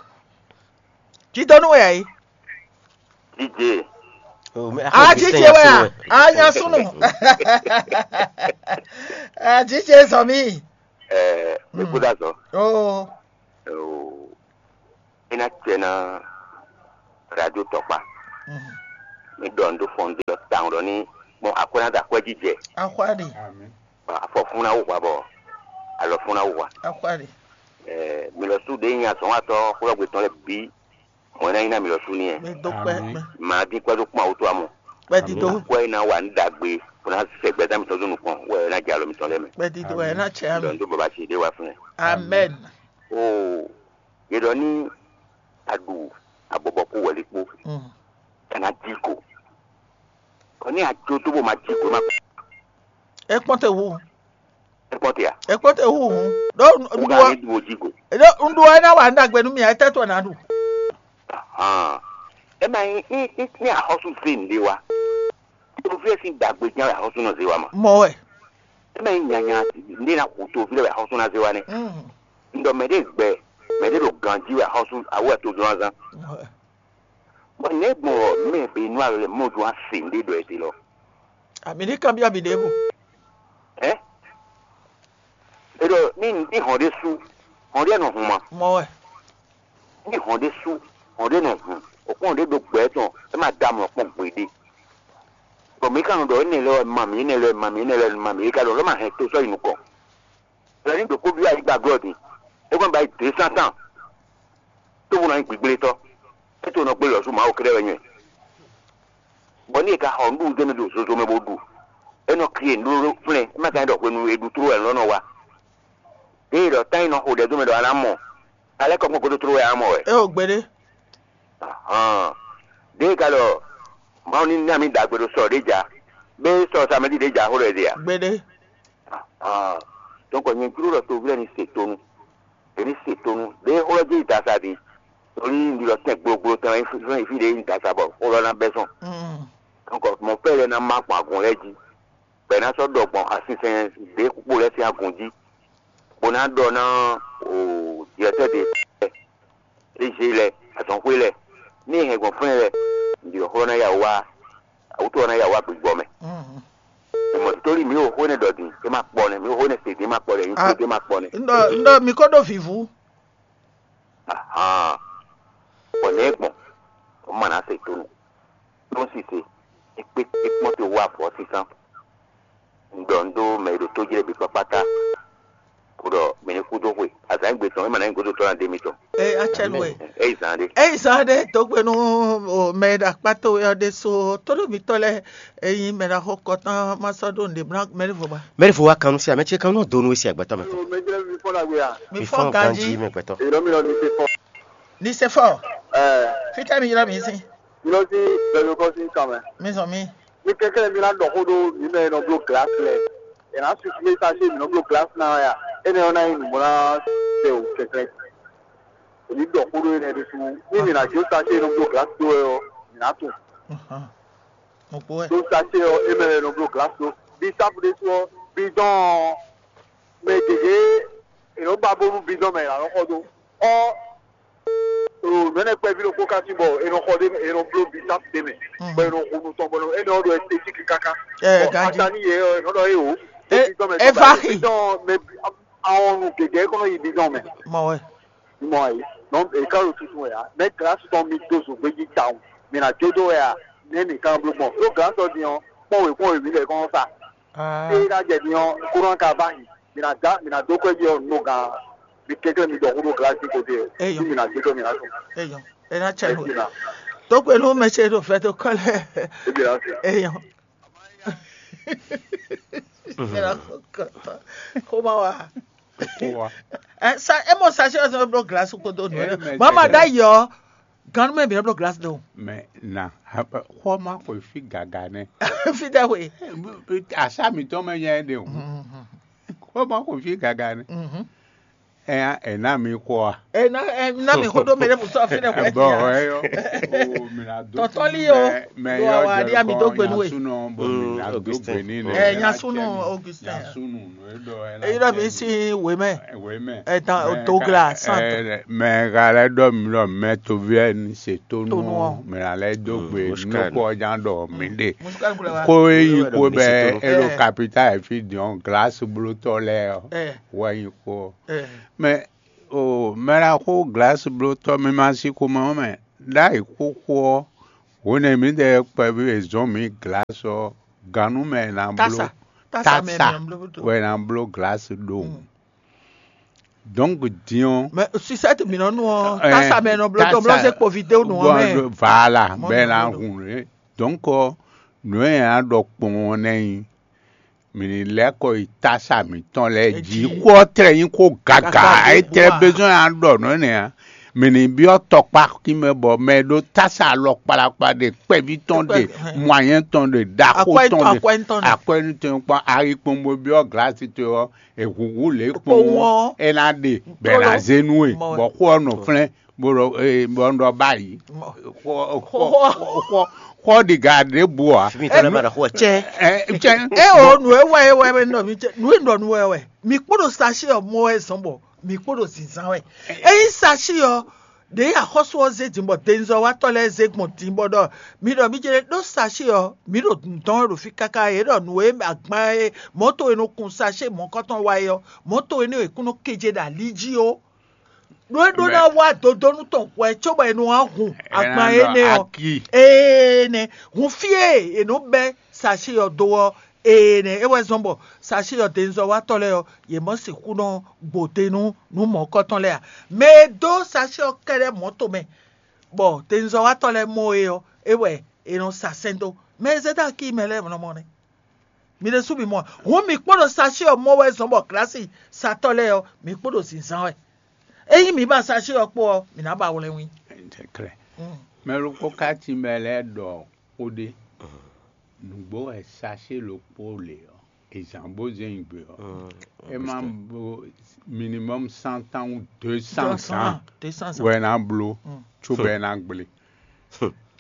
Jidonu wɛ ayi. Díje. Oh, mais Ah, Augustin Jije wɛ a. Yassou, ouais. Ah, Yassou no. Ah, Jije zɔmi. Ɛ Mi kú dó azɔ̌. Oo. É ná cɛ ná radio tɔkpa. Mi ɖɔ nǔ ɖó fɔn ɖé ɔ́ tawun ɖɔ ní gbɔn akwɛ́ ná da akwɛ́ jijɛ. Axwá ɖe. Afɔ fún ná wú hwa bɔ alɔ fún ná wú hwa. Axwá ɖe. Mi lɔ sú ɖě nyi azɔ̌nwatɔ́ xwlɔ́gbe tɔn lɛ́ɛ bǐ mɔ̌ é ná nyí ná mi lɔ sú n'i. Mi dó kpɛ. Mǎ dín kpɛ́ dó kpɔ́n awútu amɔ. Kpɛdídó. Kpɔ́ é ná wa nǔ ɖagbe bó ná sɛ gbɛzán mitɔn dó nukɔn wɛ é ná jɛ alɔ mitɔn lɛ́ɛ mɛ. Kpɛdídó wɛ é ná tsɛ ami. Ɖɔ nǔ ɖó baba ce ɖé wá fún ɛ. Amɛn. Oo, yě ɖɔ ní a ɖu abɔbɔ kú wɛ̌li kpó, mm, é ná jí ko. Kɔ ní a jó tó bó ma jí ko má. É kpɔ́n te wu. É kpɔ́n te a? É kpɔ́n te wu hǔn. Ɖó un ɖu ɔ́, ní ɖu jí ko. Ɖó un ɖu ɔ́, é ná wa nú ɖagbe nú mì, é tɛ́ tɔn ná ɖu. Hàn. É ma nyí ní ní ní axɔ́sú zé nǔɖé wá. Toví ɛ sín ɖagbe ján wɛ axɔ́sú nɔ zé wá ma. Mɔ wɛ. É ma nyí nyanya nǔɖé ná hu toví lɛ́ wɛ axɔ́sú ná zé wá nɛ́. Mm. Un ɖɔ mɛ ɖé gbɛ, mɛ ɖé ɖo ganjí wɛ axɔ́sú awú wɛ tojlɔ́nzán. Mɔ wɛ. Bɔ nɛ̌ gbɔn ɔ́ mɛ bǐ nú alɔ lɛ́ɛ mɔ jó wá se nǔɖé ɖɔ ɛ te lɔ? Abǐ ní kanbyɔ́ mì ɖěbǔ. Ɛ? É ɖɔ ní ní hɔn ɖé sú, hɔn ɖé nɔ hun ma. Mɔ wɛ. Ní hɔn ɖé sú, hɔn ɖé nɔ hun, o kpɔ́n ɖé ɖo gbɛ tɔn, é ma da mlɔ kpɔ́n gbeɖé. Bɔ mǐ ka nɔ ɖɔ énɛ́ lɛ́ɛ wɛ ma mǐ, énɛ́ lɛ́ɛ wɛ ma mǐ, énɛ́ lɛ́ɛ wɛ ma mǐ, é ka ɖɔ lɔ̌ ma hɛn to sɔ́ yi nukɔn. Lɛ̌ ní ɖo kó byɔ́ ayǐ gba glɔ́ din, é kɔn ba yi dě sántan, tó bó nɔ nyí gbigblé tɔ́, é to nɔ gbé lɔ̌ sú Mawu kɛ́ɖɛ́ wɛ nyɛ. Bɔ ní è ka xɔ nǔɖuɖu d'é mɛ ɖo zozo mɛ bó ɖu, é nɔ kí e nǔɖuɖu flɛ́n, é ma ka nyí ɖɔ hwenu e ɖu tló wɛ lɔ̌ nɔ wa. Ée ɖɔ tán e nɔ xo ɖɛ dó mɛ ɖɔ a nǎ mɔ, a lɛ́ kɔ gbɔn gúdo tló wɛ a nǎ mɔ wɛ. É o gbeɖé. Ahán. Ɖěe ka ɖɔ Mawu ní ná mì ɖagbe ɖo sɔ ɖě jà, bɛ́ sɔ samɛdí ɖě jà xó ɖɔ ɛ ɖe a? Gbeɖé. Ahán. Donc nyɛ jló ɖɔ toví lɛ́ɛ ní se tónú. È ní se tónú. Ɖěe xó lɔ jɛ yi dasa din. Torí un ɖi ɖɔ tɛn gblogbló tɛn wɛ nyí fí ɖě nyí dasa bɔ xó lɔ ná bɛ́ sɔn. Mm. Donc mɔ̌ fɛ́ lɛ́ɛ ná má gbɔn agun lɛ́ɛ jí. Bɔ è nǎ sɔ́ ɖɔ gbɔn asinsɛn ɖěkpó lɛ́ɛ sín agun jí, bó ná ɖɔ ná o jlɛ̌tɛ́ ɖě lɛ́ɛ, ézé lɛ́ɛ, azɔ̌xwé lɛ́ɛ, ní è hɛn gbɔn fúnɛ lɛ́ɛ, ɖi xlɔ́ ná ya wá, awútɔ́ ná ya wá gbigbɔ mɛ. Mɔ̌ tóli mǐ wo xó énɛ́ ɖɔ din, é má kpɔ nɛ́, mǐ wo xó énɛ́ se din, é má kpɔ nɛ́, nyí kpódó é má kpɔ nɛ́. Ŋɖɔ ŋɖɔ mi ko ɖo vǐvú. Ahan. Bɔ nɛ̌ gbɔn? Ɔ́ ma ná se tónú. Nú sise, é kpé é kpɔ́n te wú avɔ sísán. Un ɖɔ un ɖó mɛ e ɖo tójlɛ́ bǐ kpákpátá, bó ɖɔ mɛ ní kú dó xwe. Azǎn gbe tɔn, é ma ná nyí gǒdo tɔn ná ɖe mitɔn. Eye atsɛnu e. É yi zan ɖé. Eyi zan ɖé tógbénu mɛ e ɖo akpá towe ɔ́ ɖésú tóɖó mitɔ́ lɛ́ɛ e nyí mɛ ɖaxó kɔtán ma sɔ́ ɖó nǔɖé mlá mɛ ɖěvo ba. Mɛɖevo wa kan nú sí amɛ ce kan nɔ do nú we sí agbɛtɔ mɛ tɔn. Mɛ jẹ́ mi fɔ́n ɖagbe a? Mi fɔ́n ganjí. Mɛ gbɛtɔ. Èyí ló mi lọ ní ṣe fọ́. Ní ṣe fọ́. Ẹ Fítẹ́ mi ylɔ́ mi sín. Mi lọ sí bẹ̀rù kọ́ sí kàn mẹ́. Mi zɔn mi. Mi kẹ́kẹ́ mi ná dɔ xó ɖó mi mɛ nɔ bló glas lɛ. Ɛ ná susu mi sa ṣe mi nɔ bló glas ná ya. Ene ɔ́ ná nyí nǔgbó ná sɛ o kɛkɛ. Èmi dɔ xó ɖó énɛ́ ɖésú. Ní mi ná jó sa ṣe nɔ bló glas dó wɛ ɔ́, mi ná tunwun. Mo kpó wɛ. Ɖó sacɛ ɔ́, é mɛ wɛ è nɔ bló glǎsu. Bisápu ɖésú ɔ́, bidɔn mɛ gěgé è nɔ ba bónú bidɔn mɛ è nǎ nɔ xɔ dó. Ɔ nɔnɛ kpɛví ɖokpó ka cí bɔ è nɔ xɔ ɖé è nɔ bló bisápu ɖé mɛ, bɔ è nɔ hu nu tɔn bɔ énɛ́ ɔ́ ɖo ɛstétík káká. Ɛ Bɔ ganjí. Atani yɛ ɔ́ è nɔ ɖɔ é o. Ɛ, bidɔn mɛ ɛ tɔn va bɔ xi. Bidɔn mɛ awɔnu gěgé kɔnɔ yi bidɔn mɛ. Mɔ wɛ. Mɔ ayi. Donc e ka ɖo tuntun wɛ ya. Mɛ glasi tɔn mi dó zun gbéjí tawun. Mi na jó dó wɛ ya. Nɛ mi kan bló gbɔn. Ɖó glasi tɔn din ɔ́, kpɔn wě kpɔn wě mi lɛ kɔn sa. Ée ná jɛ din ɔ́, kúrán ka bá yi. Mi na dá mi na dó kwɛ́ jí ɔ́ nú gan. Mi kɛnklɛ́n mi dɔ kúrò glasi ko dé. Eyɔ. Ní mi na jó dó mi na sùn. Eyɔ. E na tsɛ nù. Tó kpé nú mɛ ce ɖo fɛ tó kɔ lɛ. Ebi na sùn. Eyɔ. Xoma wa. Ɛ sa emo sa se ɔsɛ blo glace ko do nu. Mama da yɔ. Ganu mɛ bi blo glace do. Mɛ na xɔma ko fi gaga nɛ. Fi da we. Asa mi tɔn mɛ nya de o. Xɔma ko fi gaga nɛ. Ɛ ɛ na mi kɔ a. Ena ena mi xo ɖo mɛ ɖe musɔ fi ɖe xɔ Bɔ ɛyɔ. Tɔtɔli o. Ɖo awa ɖi ami do gbe nu we. Sunɔ bɔ mi na do Augustin. Gbe ni nɛ. Ɛ nya sunu Augustin. Sunu nɔ e ɖɔ ɛ Eyi ɖɔ mi si we mɛ. Ɛwɛ mɛ. Ɛ dan o do gla sant. Mɛ ka lɛ ɖɔ mi ɖɔ mɛ toviɛ ni se to To nu nu ɔ. mɛ la lɛ do gbe Muscade. Nukɔ jan ɖɔ mi ɖe. Musukali kula wa. Ko e yi Ɛyɔ ko mi bɛ se to nu. e ɖo Ɛ. Kapita e fi diɔn glasi blotɔ lɛ ɔ Ɛ wɔ yi ko. ɛ. Mɛ o mɛ la xo glasi blotɔ mi ma si ko mɛ ɔ mɛ ɖ'ayǐ xóxó ɔ hwenɛ mi ɖe kpɛví e zɔn mi glasi ɔ ganu mɛ na Tasa. blo Tasa mɛ tasa mi nɔ blo to. Wɛ na blo glasi ɖo. Donc diɔn Mais sucette mi nɔ nu ɔ Ɛ, tasa mɛ nɔ blo to blo tasa- se kpovi de nu ɔ mɛ. Voilà Mɔ bɛ nɔ na blo. hun rɛ. Donc nǔ e a ɖɔ kpɔn ɔ́ nɛ nyi mi ní lɛ́ kɔ yi tasa mǐtɔn lɛ́ jí Jí. xó ɔ́ tlɛ nyí xó gaga Gaga é ɖěbǔ tlɛ ǎ. Besoin a ɖɔ nǔ énɛ́ ǎ. Mǐ ní byɔ́ tɔkpá kí mɛ bɔ mɛ e ɖó tasa alɔ kplakpla ɖe kpɛví tɔn ɖe Kpɛ- mɔanyɛ́ tɔn ɖe ɖaxó Akwɛ́ tɔn tɔn ɖe akwɛ́ tɔn ɖe. akwɛ́nú tɔn kpɔ́n ayikpɔngbó byɔ́ glasi towe ɔ́ èhǔhú lě kpɔn Kpowun ɔ́ ɔ́. é ná ɖe bɔ è nǎ zé nú we Mɔ. Bɔ xó ɔ́ nɔ flɛ́n bó ɖɔ ee bɔ un ɖɔ báyìí Mɔ. xó xó Xó- xó xó ɖiga ɖěbǔ ǎ. Fimi tɔlɛ ma ɖɔ xó ɛ cɛ. Ɛ cɛ E o nu e wɛ e wɛ e nɔ mi cɛ nu e nɔ nu e wɛ mi kpɔdo sachet ɔ mɔ wɛ zɔn bɔ mi kpɔdo zinzan wɛ eyi sachet ɔ ɖe axɔsu ɔ zé din bɔ denzɔ watɔ lɛ zé gbɔn din bɔ ɖɔ mi ɖɔ mi jɛ ɖo sachet ɔ mi ɖo dundɔn ɖo fi kaka e ɖɔ nu e agban e mɔto e nɔ kun sachet mɔkɔtɔn wa e ɔ mɔto e nɔ e kun nɔ keje ɖo ali jí o ɖo e ɖo na wa dodonu tɔn hwɛ cóbɔ e nɔ wa hun agban e nɛ ɔ Aki ee nɛ hun fie e nɔ bɛ sachet ɔ do ɔ ee nɛ e wɛ zɔn bɔ sachet ɔ denzɔ watɔ lɛ ɔ yě mɔ sixú nɔ gbode nú nú mɔ̌kɔtɔn lɛ́ɛ ǎ. Mɛ e dó sachet ɔ́ kɛ́ɖɛ́ mɔ̌ tomɛ, bɔ tewunzɔ́watɔ́ lɛ́ɛ mɔ é ɔ́, é wɛ è nɔ sa sɛ́n dó. Mɛ e zé dó akí mɛ lɛ́ɛ nɔ mɔ nɛ́. Mi ɖésú mi mɔ ǎ. Hǔn mi kpó ɖo sachet ɔ́ mɔ wɛ zɔn bɔ glǎsisatɔ́ lɛ́ɛ ɔ́, mi kpó ɖo zǐnzán wɛ. Ényí mi ba sachet ɔ́ kpó ɔ́, mi ná ba wlɛ́nwí. Mɛ ɖokpó ka cí mɛ lɛ́ɛ ɖɔ xó ɖé. Nǔgbó wɛ sachet ɖokpó le ɔ́, è zǎn bó zé nyi gbe ɔ́, é má bo minimum cent ans ou deux cents ans Deux cents ans. Wɛ ná bló, có bɔ é ná gblé.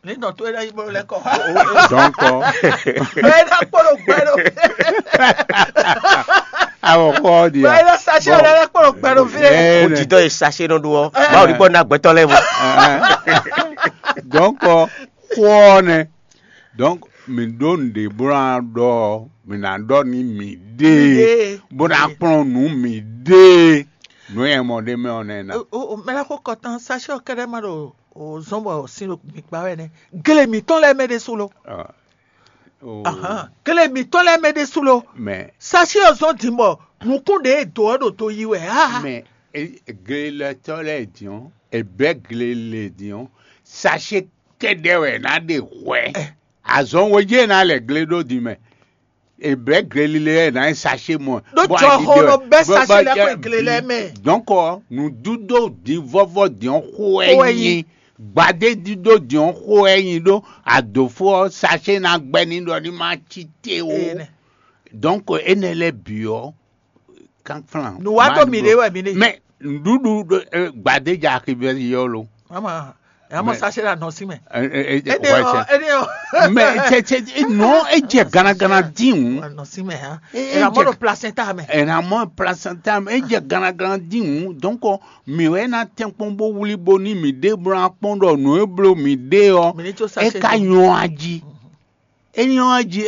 Ní nɔ tó é ná yí bó lɛ́ kɔ. Donc, Bɛ́ ná kpɔ́ ɖo gbɛ ɖo. Awɔ xɔ ɔ́ ɖi Bɛ́ ná sachet ɔ́ ná kpɔ́ ɖo gbɛ ɖo fí ɖé. Ɛ, Ó didɔ e sachet nɔ ɖu ɔ́, Mawu ní gbɔ ná gbɛtɔ lɛ́ɛ mɔ. Donc, xɔ ɔ́ nɛ. Donc, mǐ ɖó nǔɖé bó ná ɖɔ, mǐ ná ɖɔ ní mǐ ɖée, bó ná kplɔ́n nǔ mǐ ɖée. Nǔ e mɔ ɖ'é mɛ ɔ́ nɛ́ ná. Mɛ lɛ́ xó kɔtán sachet ɔ́ kɛ́ɖɛ́ má ɖo zɔ́n bɔ sin ɖo mi kpa wɛ nɛ́. Gle mǐtɔn lɛ́ɛ mɛ ɖésú lo. Oh, Ahan. Gle mǐtɔn lɛ́ɛ mɛ ɖésú lo. Mais Sachet ɔ́ zɔ́n din bɔ nǔkún ɖě e dǒ ɔ́ ɖo to yi wɛ. Ah. Mais e- glelɛtɔ lɛ diɔn ebɛ glele diɔn sachet kɛdɛ wɛ na ɖe hwɛ azɔn wo je na lɛ gle ɖo di mɛ ebɛ glelile wɛ na sachet mɔ Ɖó jɔ xɔ nɔ bɛ sachet lɛ kɔ gle lɛ mɛ. Donc nu dudo di vɔvɔ diɔn xo Xo ɛyin ɛyin. Gbadé dudo diɔn xo ɛyin ɖó adofo sachet na gbɛ ni ɖɔ ni ma ci te o. Ee nɛ. Donc enɛ lɛ biɔ kanflan. Nǔ wa dó mi ɖe wɛ mi ɖe. Mais nuɖuɖu ɖo eh, gbadédza xivɛ yɔ lo. Ama ama Mais- sachet la nɔ sí mɛ. Eh, eh, eh, Ede ouais, ɔ c'est- ede ɔ. Mais c'est c'est non edze ganagana din o. Wa nɔ sí mɛ hã. Eh, Ela eh, mɔ ɖo je- placenta mɛ. Ɛna mɔ placenta edze ganagana din o. Donc mi wɛ na tɛnkpɔn bo wuli bo ni mi ɖe bla kpɔn ɖɔ nǔ e blo mi ɖe ɔ. Mi ní tso E sachet ka dó. nyɔ aji. E nyɔ aji.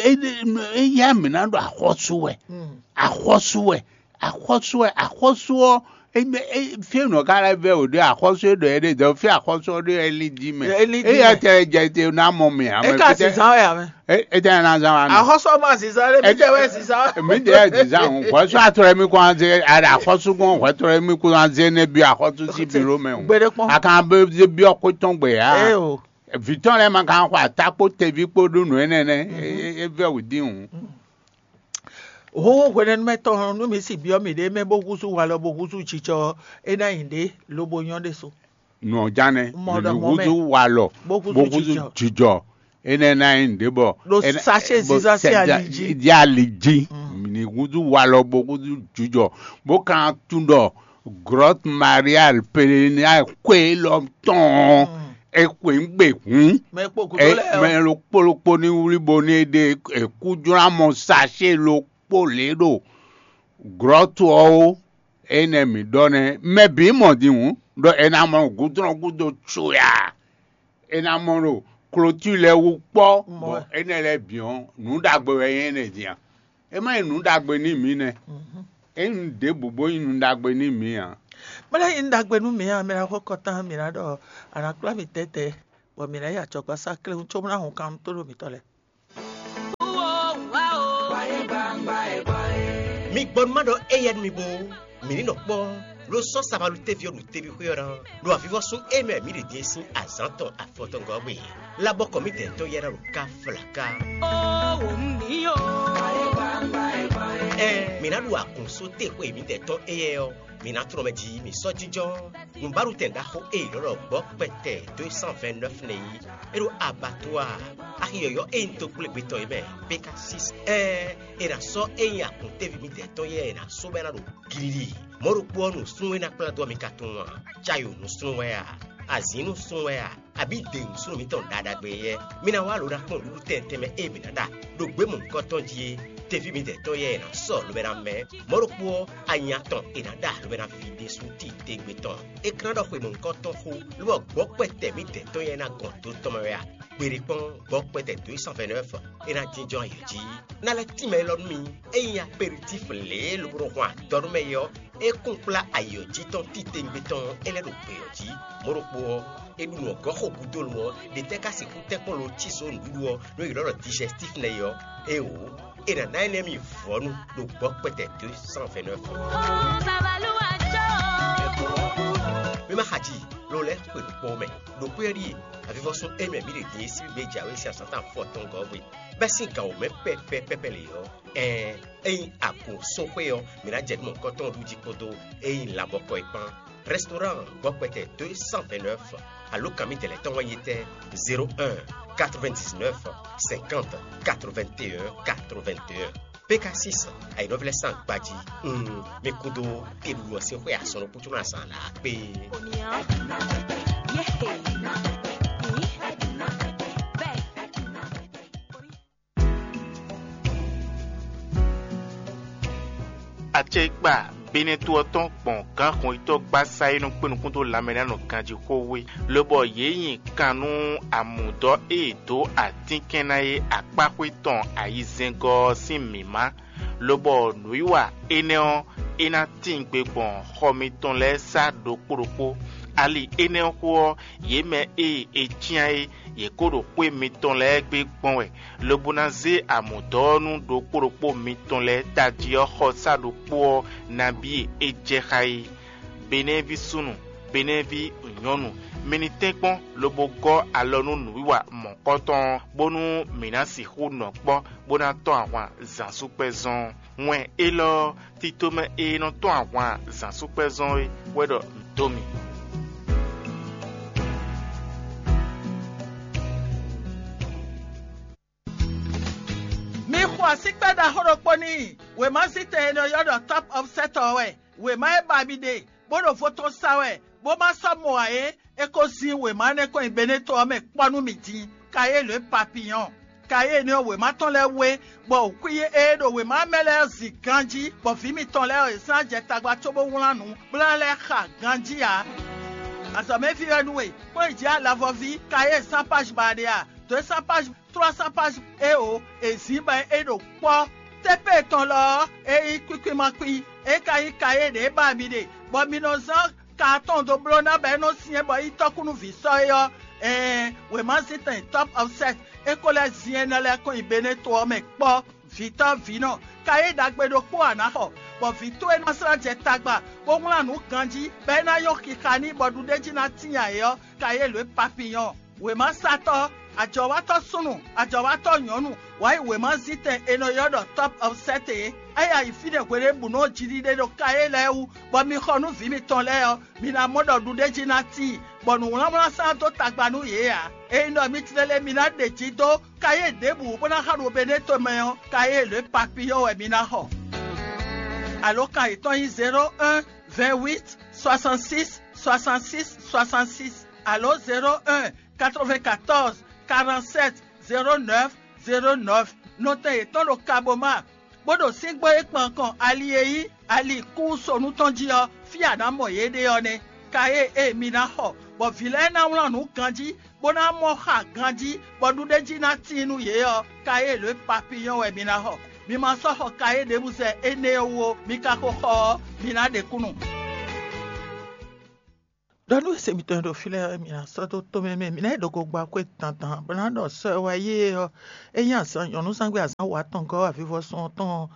Eya mi na ɖo axɔsu wɛ. Mm. Axɔsu wɛ axɔsu wɛ axɔsu ɔ eme e fie nɔ ka lɛ vɛ o ɖe axɔsu e ɖɔ e ɖe dɔ fie axɔsu ɔ ɖe e li di mɛ E li di eya mɛ. tɛ dze te na mɔ mi ame E ka si zan wɛ amɛ. E tɛ na zan wa nɔ. Axɔsu ɔmɔ si zan ɖe mi tɛ wɛ si zan. Mi de ɛ di zan o xɔsu atrɔ mi kɔn an ze ara axɔsu kɔn xɔtrɔ mi kɔn an ze ne bi axɔsu si biro mɛ o. Gbeɖe kpɔn. A kan be bi ɔkɔ tɔn gbe ya. E o. Vitɔn lɛ ma kan xɔ atakpo tevi kpo ɖo nǔ enɛ nɛ. E vɛ o di o. Ho hwenɛnumɛtɔn nú mi si biɔ mi ɖe mɛ bó húzú walɔ bó húzú jijɔ é ná nyi ɖe lobo nyɔ ɖe so. Nɔ jánɛ Mɔ mi ɖɔ ni mɔ mɛ. Húzú walɔ Bó húzú bó húzú jijɔ. Jijɔ enɛ ná nyi ɖe bɔ Ɖo enɛ- sachet bɔ ziza sí sɛ- ali jí. Di ali jí. Mi ni húzú walɔ bó húzú jijɔ bó kan tún ɖɔ Grotte Marial Pelenia xwe élɔ́ tɔn ɔ́, é xwe nǔ gbe hǔn. Mɛ kpokpo lɛ́ɛ ɔ́. Mɛ ɖokpó ɖokpó ní wlí bo ní é ɖe kújlánmɔ sachet ɖokpó lě ɖo grotte ɔ́ ó. Énɛ́ mǐ ɖɔ nɛ́, mɛ bǐ mɔ din hǔn, ɖɔ è nǎ mɔ gǔdrɔ́n gúdo coya. È nǎ mɔ ɖo klotúi lɛ́ɛ wú kpɔ́, bɔ énɛ́ lɛ́ɛ bǐ ɔ́, nǔ ɖagbe wɛ nyí énɛ́ din a? É má nyí nǔ ɖagbe nú mǐ nɛ́. É nyí nǔ ɖěbǔ bó nyí nǔ ɖagbe nú mǐ ǎ. Mɛ lɛ́ɛ nyí nǔ ɖagbe nú mǐ ǎ, mɛ ná xɔ kɔtán, mǐ ná ɖɔ a nǎ kplá mì tɛ́tɛ́, bɔ mǐ ná yi acɔkpasá kléwún cóbó ná hun kannú tó ɖo mǐtɔn lɛ́ɛ. Mi gbɔ nú má ɖɔ éyɛ́ nú mi bó, mǐ ní nɔ kpɔ́, ló sɔ́ sabalú téví ɔ́ ɖo teví xwé ɔ́ ná, ɖo avivɔ́sún e mɛ mǐ ɖe din é sín azǎn tɔn afɔtɔngɔ́ gbe. Labɔkɔ mǐdɛɛ tɔn yɛ́ ná ɖo ká flaká. Ɛɛ, mǐ ná ɖu agun só te xwe mǐdɛɛ tɔn éyɛ́ ɔ́, mǐ ná tlɔ́n mɛ jí mǐ sɔ́ jínjɔ́n. Nǔbáɖutɛn ɖaxó e è nɔ ɖɔ gbɔ̌ kpɛtɛ deux cent vingt-neuf nɛ́ é, é ɖo abattoir axi yɔ̌yɔ́ e nyí dó kplé gbetɔ́ é mɛ, Pékasis. Ɛɛ, è nǎ sɔ́ e nyí akun téví mǐdɛɛ tɔn yɛ́ è nǎ só bɔ é ná ɖo glili. Mɔ̌ ɖokpó ɔ́, nǔsúnnú e ná kplá dó ɔ́, mi ka tunwun a? Cayo nǔsúnnú wɛ a? Azǐn nǔsúnnú wɛ a? Abǐ dě nǔsúnnú mǐtɔn ɖa ɖagbe éyɛ́? Mi ná wá lo ná kpɔ́n nǔɖuɖu tɛntɛn mɛ e mǐ ná ɖa ɖo gbě mɔ̌hunkɔtɔn jí é. Teví mǐdɛɛ tɔn yɛ́ è nǎ sɔ́ lobo ná mɛ. Mɔ̌ ɖokpó ɔ́, anya tɔn è nǎ ɖa lobo ná ví ɖésú titewungbe tɔn. É ka ná ɖɔ xwe mɔ̌hunkɔtɔn xó, lobɔ gbɔ̌ kpɛtɛ mǐdɛɛ tɔn yɛ́ ná gɔn do tɔn mɛ wɛ a? Gbeɖé kpɔ́n, gbɔ̌ kpɛtɛ dǒ yi sanfɛnɛ́ ɔ́ fɔ, é ná jínjɔ́n ayǐ jí. Ná lɛ́ tínmɛ élɔ́ nú mi, ényí aperitífu lě e lobo nɔ hwan adɔ nú mɛ é ɔ́, é kún kplá ayǐ ɔ́ jí tɔn titewungbe tɔn ɔ́, é lɛ́ ɖo gbě ɔ́ jí. Mɔ̌ ɖokpó ɔ́, è ɖu nǔ ɔ́ gɔ́ xo gúdo lo ɔ́, ɖě tɛ́ ka sixú tɛ́nkpɔ́n lo cí zǒ nǔɖuɖu ɔ́, nú è ylɔ́ ɖɔ digestif nɛ́ é ɔ́? Éeǒ, è nǎ ná énɛ́ mi vɔ̌nu ɖo gbɔ̌ kpɛtɛ dǒ yi sanfɛnɛ́ ɔ́ fɔ. Mi ma xa ji, lo lɛ́ xwe nǔkpɔ́n mɛ. Ɖo xwé ɔ́ ɖíe, avivɔ́sún e mɛ mǐ ɖe din e sín gbé jǎwe sín azǎn tɔn afɔtɔngɔ́ hwe, bɛ́ sín gǎn wǒ mɛ pɛ́pɛ́ pɛ́pɛ́ lě ɔ́, ɛɛn, ényí agun sóxwé ɔ́, mǐ ná jɛ nǔ mɔ̌hunkɔtɔn ɖu jí kpódó ényí lanbɔkɔ é kpán. Restaurant gbɔkpɛtɛ deux cent vingt-neuf, alǒkan mǐtɛn lɛ́ɛ tɔn wɛ nyí tɛ́: zéro un, quatre-vingt-dix-neuf, cinquante, quatre-vingt-un, quatre-vingt-un. P K six, ayǐnɔ́ví lɛ́ɛ sín agbají. Un, mi kúdó teɖuɖu ɔ́ sín xwé asɔ́nukútúnú azǎn lǎ kpé. Acɛkpa Benɛ́to ɔ́ tɔn gbɔn gǎn xɔnyitɔ́ gbásá e nɔ kpé nukún dó lanmɛ ná nɔ ganjí xó wé, lobɔ yě nyi kan nú amǔdɔ́ e è dǒ atínkɛn ná é akpáxwé tɔn ayizɛ́ngɔ́ ɔ́ sín mǐmá, lobɔ nǔwiwa énɛ́ ɔ́, é ná tíin gbe gbɔn xɔ mitɔn lɛ́ɛ sá ɖokpó ɖokpó. Ali énɛ́ ɔ́ xó ɔ́, yě mɛ e è cyán é, yě kó ɖo xwé mitɔn lɛ́ɛ gbe gbɔn wɛ, lobo ná zé amǔdɔ́ ɔ́ nú ɖokpó ɖokpó mitɔn lɛ́ɛ tají ɔ́ xɔsá ɖokpó ɔ́ nabí e é jɛ xá é. Benɛ́ví súnnu, Benɛ́ví nyɔ̌nu, mi ní tɛ́nkpɔ́n lobo gɔ́ alɔ nú nǔwiwa mɔ̌kɔtɔn ɔ́, bónú mǐ ná sixú nɔ kpɔ́ bó ná tɔ́n ahwan zǎnsúkpɛ́zɔn. Wɛn élɔ́ ɔ́, tito mɛ e nɔ tɔ́n ahwan zǎnsúkpɛ́zɔn é wɛ ɖɔ mǐ dó mi. Mi xo asíkpɛ́ ɖaxó ɖokpó n'i. Wěmazítɛn e nɔ ylɔ́ ɖɔ Top of Set ɔ́ wɛ. Wěma e ba mi ɖe, bó ɖo vo tɔn sa wɛ, bó ma sɔ́ mɔ ǎ é, é ko zín wěma énɛ́ kɔn nyi Benɛ́to ɔ́ mɛ kpɔ́ nú mi din. Kayélo e papiyɔn. Kayélo ɔ́, wěma tɔn lɛ́ɛ wú é, bɔ wǔkwín e ɖo wěma ɔ́ mɛ lɛ́ɛ ɔ́ zin ganjí, bɔ vǐ mitɔn lɛ́ɛ ɔ́, yě sɔ́ ná jɛ tagba cóbó wlán nǔ, bó ná lɛ́ xa ganjí ǎ. Azɔ̌mɛví wɛ nú we, kplɔ́n yi jǐ alavɔví, kayé zán páj ba ɖe a? Dǒ e zán páj trois cents pages éeǒ, è zǐn bɔ é ɖo kpɔ́. Tépée tɔn lɔ ɔ́, é nyí kwíkwímakwín, é ka nyí kayé ɖě ba mi ɖe, bɔ mi nɔ zán ka atɔn dó bló ná bɔ é nɔ́ syɛ́n bɔ é nyí tɔ́kúnúví sɔ́ é ɔ́, ɛɛn, wěmazíntɛn Top of Set é ko lɛ́ zin énɛ́ lɛ́ɛ kɔn nyi Benɛ́to ɔ́ mɛ kpɔ́. Vǐtɔ́ vǐnɔ, kayé ɖagbe ɖokpó a nǎ xɔ, bɔ vǐ towe ná slá jɛ tagba, bó wlán nǔ ganjí, bɔ é ná nyɔ́ xixa n'i bɔ ɖuɖéjí ná tíin ayǐ ɔ́, kayé lǒ e papiyɔn. Wěmasatɔ́, ajɔ̌watɔ́ súnnu, ajɔ̌watɔ́ nyɔ̌nu, wǎ yi wěmazítɛn è nɔ ylɔ́ ɖɔ Top of Set é. É yi ayǐ fínɛ́ hweɖěbǔnu ɔ́ jiɖiɖe ɖo kayé lɛ́ɛ wú, bɔ mi xɔ nú vǐ mitɔn lɛ́ɛ ɔ́, mi ná mɔ ɖɔ ɖuɖéjí ná tíin, bɔ nǔwlánwlán sán dó tagba nú yě ǎ. Ényí ɖɔ mi tlélé mi ná ɖe jí dó kayé ɖěbǔ bó ná xa ɖo Benɛ́to mɛ ɔ́, kayé lě papiyɔ́ wɛ mi ná xɔ. Alǒkan yětɔn nyí zéro un vingt-huit soixante-six soixante-six soixante-six, alo zéro un quatre-vingt-quatorze quarante-sept zéro neuf zéro neuf. Nɔtɛn yětɔn ɖo Kaboma, bó ɖo síngbó e kpan kɔn ali e nyí ali kúsonu tɔn jí ɔ́, fí a nǎ mɔ yě ɖe ɔ́ nɛ́. Kayée e mi ná xɔ, bɔ vǐ lɛ́ɛ ná wlán nǔ ganjí, bó ná mɔ xa ganjí, bɔ nǔɖéjí ná tíin nú yě ɔ́, kayée lǒ e papiyɔ́n wɛ mi ná xɔ. Mi ma sɔ́ xɔ kayée ɖěbǔ zɛ énɛ́ ɔ́ wú ó; mi ka ko xɔ ɔ́, mi ná ɖe kúnnu. Ɖɔ nú ese mitɔn e ɖo fí lɛ́ɛ, mi ná sɔ́ dó tomɛ mɛ, mi ná yi ɖo gogba xwé dandan, bó ná ɖɔ sɔ e wá yí é ɔ́, é nyí azǎn nyɔ̌nuzángbe azǎn wǎtɔngɔ́ avivɔsɔn tɔn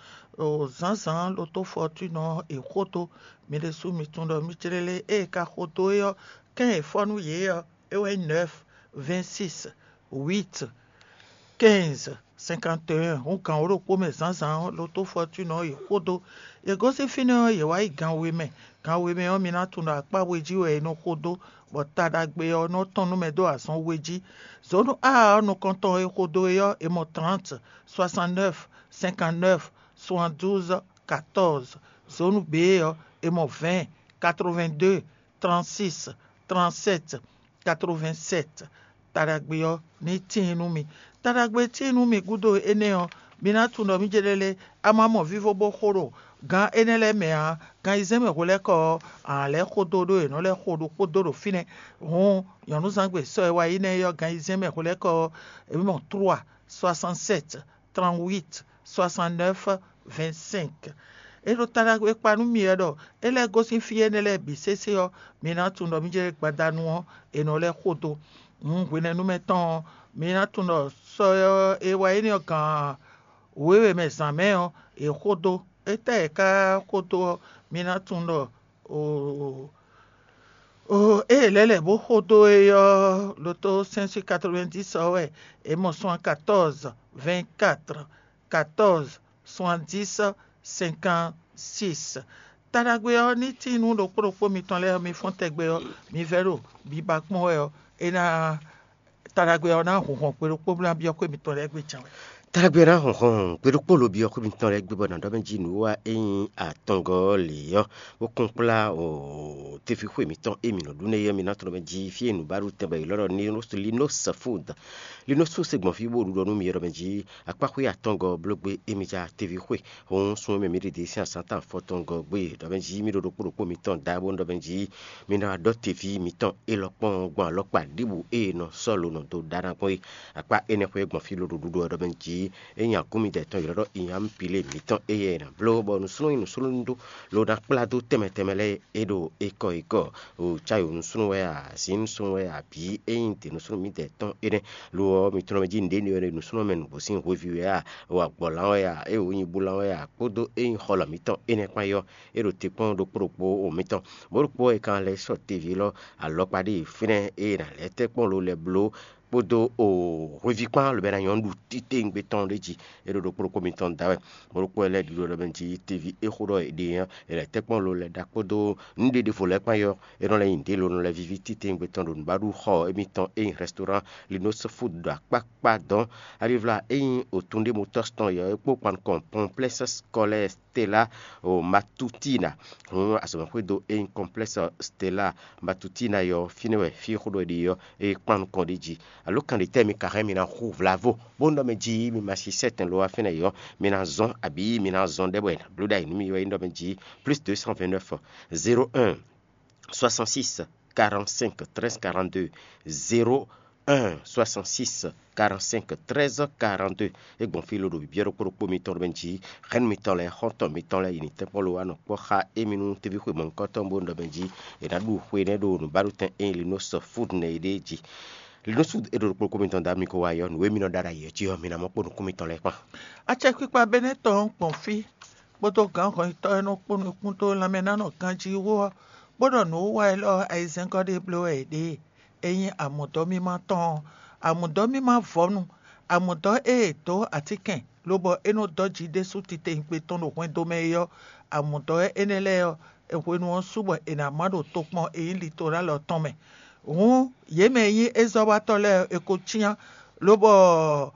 zǎnzǎn ɖo tó fɔtúnɔ e xó dó. Mi ɖésú mi tunwun ɖɔ mi clélé ée ka xo dó é ɔ́, kɛ́n e fɔ́ nú yě ɔ́, é wɛ nyí nɛ́f, vɛ́nsís, wít, kɛ́nz, sɛnkantéɛn. Hǔn gǎn wǒ ɖokpó mɛ zǎnzǎn ɔ́, ɖo tó fɔtúnɔ ɔ́, yě xo dó. Yě gosín fínɛ́ ɔ́, yě wá yi gan we mɛ. Gan we mɛ ɔ́, mi ná tunwun ɖɔ akpá we jí wɛ è nɔ xo dó, bɔ ta ɖagbe ɔ́ nɔ tɔn nú mɛ dó azɔn we jí. Zǒnu A ɔ́ nukɔntɔn e xo dó é ɔ́, è mɔ trǎnt, soixante-neuf, cinquante-neuf, soixante-douze, quatorze. Zǒnu B ɔ́, è mɔ vingt, quatre-vingt-deux, trente-six, trente-sept, quatre-vingt-sept. Ta ɖagbe ɔ́ ní tíin nú mi. Ta ɖagbe e tíin nú mi gúdo énɛ́ ɔ́, mi ná tunwun ɖɔ mí jɛ lɛ́ lé, a ma mɔ vívó bó xo ɖo gan énɛ́ lɛ́ɛ mɛ ǎ. Gan ayizɛ́n mɛ hwelɛ́kɔ ɔ́, a nǎ lɛ́ xo dó ɖó è nɔ lɛ́ xo ɖokpó dó ɖo fínɛ́. Hǔn nyɔ̌nuzángbe sɔ́ e wá yi nɛ́ é ɔ́, gan ayizɛ́n mɛ hwelɛ́kɔ ɔ́, è mɔ trois, soixante-sept, trente-huit, soixante-neuf, vingt-cinq. É ɖo ta ɖagbe kpa nú mi wɛ ɖɔ é lɛ́ gosín fí énɛ́ lɛ́ɛ bǐ sésé ɔ́, mi ná tunwun ɖɔ mí jɛ gbadanu ɔ́, è nɔ lɛ́ xo dó. Hǔn hwenɛ́nu mɛ tɔn ɔ́, mi ná tunwun ɖɔ sɔ ɔ́ e wá énɛ́ ɔ́ gǎn wěwe mɛ zǎn mɛ ɔ́, è xo dó. Étɛ́ è ká xo dó ɔ́, mi ná tunwun ɖɔ oo, oo, ée è lɛ́ lɛ̌ bó xo dó é ɔ́, ɖo tó cinq cent quatre-vingt-dix ɔ́ wɛ è mɔ soixante-quatorze, vingt-quatre, quatorze, soixante-dix, cinquante-six. Ta ɖagbe ɔ́ ní tíin nú ɖokpó ɖokpó mitɔn lɛ́ɛ ɔ́, mi fɔ́n tɛgbɛ ɔ́, mi vɛ́ ɖo biba kpɔ́n wɛ ɔ́, é ná ta ɖagbe ɔ́ ná hun hɔn gbe ɖokpó bó ná byɔ́ xwé mitɔn lɛ́ɛ gbe can wɛ. Ta ɖagbe ɔ́ ná hun hɔn gbe ɖokpó lo byɔ́ xwé mitɔn lɛ́ɛ gbe bɔ nǎ ɖɔ mɛ jí nǔ wa é nyí atɔngɔ́ lě ɔ́, bó kún kplá o teví xwé mitɔn e mǐ nɔ ɖu nɛ́ é ɔ́, mi ná tunɔ mɛ jí fí e nǔ ba ɖu tɛn bɔ è lɔ́ ɖɔ Linus Food. Linus Food se gbɔn fí bó ɖu ɖɔ nú mi é ɖɔ mɛ jí akpáxwé atɔngɔ́ bló gbé émí já teví xwé. Hǔn sun e mɛ mǐ ɖe ɖě sín azǎn tɔn afɔtɔngɔ́ gbé ɖɔ mɛ jí mí ɖo ɖokpó ɖokpó mitɔn da bó ɖɔ mɛ jí mi ná wá ɖɔ teví mitɔn élɔ́ kpɔ́n gbɔn alɔkpa ɖěbǔ e è nɔ sɔ́ lo nɔ dó ɖa ná gbɔn é. Akpá énɛ́ xwé gbɔn fí ló ɖo ɖuɖu ɔ́ ɖɔ mɛ jí é nyi agún midɛɛ tɔn ylɔ́ ɖɔ inyamupile mǐtɔn éyɛ́ è nǎ bló bɔ nǔsúnnú nyi nǔsúnnú ɖó lo ná kplá dó tɛnmɛ tɛnmɛ lɛ́ɛ é ɖo ékɔ ékɔ. O cáyo nǔsúnnú wɛ a, azǐn nǔsúnnú wɛ a, bǐ é nyí dě nǔsúnnú mǐdɛɛ tɔn énɛ́. Lo ɔ́, mi tunɔ mɛ jí nǔɖé ní ɔ́ nǔsúnnú mɛ nǔgbó sín hweví wɛ a, o agbɔ̌lán wɛ a, é o nyibúlán wɛ a, kpódó é nyí xɔlɔ̌ mǐtɔn énɛ́ kpán é ɔ́, é ɖo te kpɔ́n ɖokpó ɖokpó o mǐtɔn. Bó ɖokpó ɔ́ è ka lɛ́ sɔ́ teví élɔ́ alɔkpa ɖé e fínɛ́ é è nǎ lɛ́ tɛ́ kpɔ́n lo lɛ́ bló kpódó o hweví kpán lobɛ ná nyɔ́ ɖu titewungbe tɔn ɖé jí. É ɖo ɖokpó ɖokpó mitɔn da wɛ. Bó ɖokpó ɔ́ lɛ́ ɖiɖɔ ɖɔ mɛ jí teví é xó ɖɔ è ɖe ɔ́, è lɛ́ tɛ́ kpɔ́n lo lɛ́ ɖa kpódó nǔɖé ɖěvo lɛ́ɛ kpán yɔ. É nɔ lɛ́ nyi ɖě lo nɔ lɛ́ víví titewungbe tɔn ɖo nǔbaɖuxɔ émítɔn e nyí restaurant Linus Food ɖo akpákpá dɔn. Alivla e nyí otun ɖé motɔ́s tɔn yɔ é kpó kpan nukɔn Complexe Scolaire Stella o Matutina. Hǔn azɔ̌mɛxwédo e nyí Complexe Stella Matutina yɔ fínɛ́ wɛ fí xó ɖɔ è ɖe ɔ́, é kpan nukɔn ɖ'é jí. Alo kan ɖě tɛ́ mi ka hɛn mi ná hu vlavo bó nɔ mɛ jí mi ma si sɛ́tɛn lo wá fínɛ́ yɔ, mi ná zɔn abǐ mi ná zɔn ɖɛ bɔ è nǎ bló ɖ'ayǐ nú mi wɛ é nɔ mɛ jí plus deux cent vingt-neuf, zéro un, soixante-six, quarante-cinq, treize, quarante-deux, zéro un, soixante-six, quarante-cinq, treize, quarante-deux. É gbɔn fí lo ɖo bǐbyɔ́ ɖokpó ɖokpó mitɔn ɖo mɛ jí. Hɛn mitɔn lɛ́ɛ, xɔ́ntɔn mitɔn lɛ́ɛ, yi ní tɛ́nkpɔ́n lo wá nɔ kpɔ́ xá émi nú teví xwe mɔ̌hunkɔtɔn bó nɔ mɛ jí. È nǎ ɖu xwe nɛ́ ɖo nǔbaɖutɛn e nyí Linus Food nɛ́ é ɖée jí. Linus Food é ɖo ɖokpó ɖokpó mitɔn da mi ko wá yɔ nǔ e mi nɔ ɖa ɖ'ayǐ ɔ́ jí ɔ́, mi ná mɔ kpó nukún mitɔn lɛ́ɛ kpán. Acɛkpikpa Benɛ́tɔn ɔ́ gbɔn fí, kpódó gǎnhɔn yɛtɔ́ e nɔ kpó nukún dó lanmɛnánɔganjí wú ɔ́, bó ɖɔ nǔwiwa élɔ́ ayizɛ́ngɔ́ ɖé bló wɛ è ɖe e. É nyí amǔdɔ́mímá tɔn ɔ́, amǔdɔ́mímá vɔ̌nu, amǔdɔ́ e è dǒ atínkɛn, lobɔ é nɔ dɔ́ jǐ ɖésú titewungbe tɔn ɖo hwɛndo mɛ é ɔ́, amǔdɔ́ énɛ́ lɛ́ɛ ɔ́, hwenu ɔ́ su bɔ è nǎ má ɖo tokpɔn e nyí litorálɔ tɔn mɛ. Hǔn yě mɛ e nyí ézɔ́watɔ́ lɛ́ɛ ɔ́, è ko cyán, lobɔ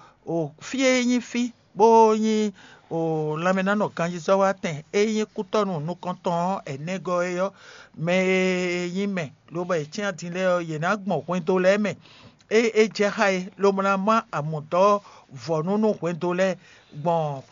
fí e nyí fí bó nyí lanmɛnánɔ ganjízɔ́watɛn e nyí kútɔ́nú nukɔntɔn ɔ́ ɛnɛgɔ́ é ɔ́, mɛ e nyí mɛ lobɔ è cyán din lɛ́ɛ ɔ́, yě ná gbɔn hwendo lɛ́ɛ mɛ. É é jɛ xá e, lobo ná má amǔdɔ́ vɔ̌nu nú hwendo lɛ́ɛ gbɔn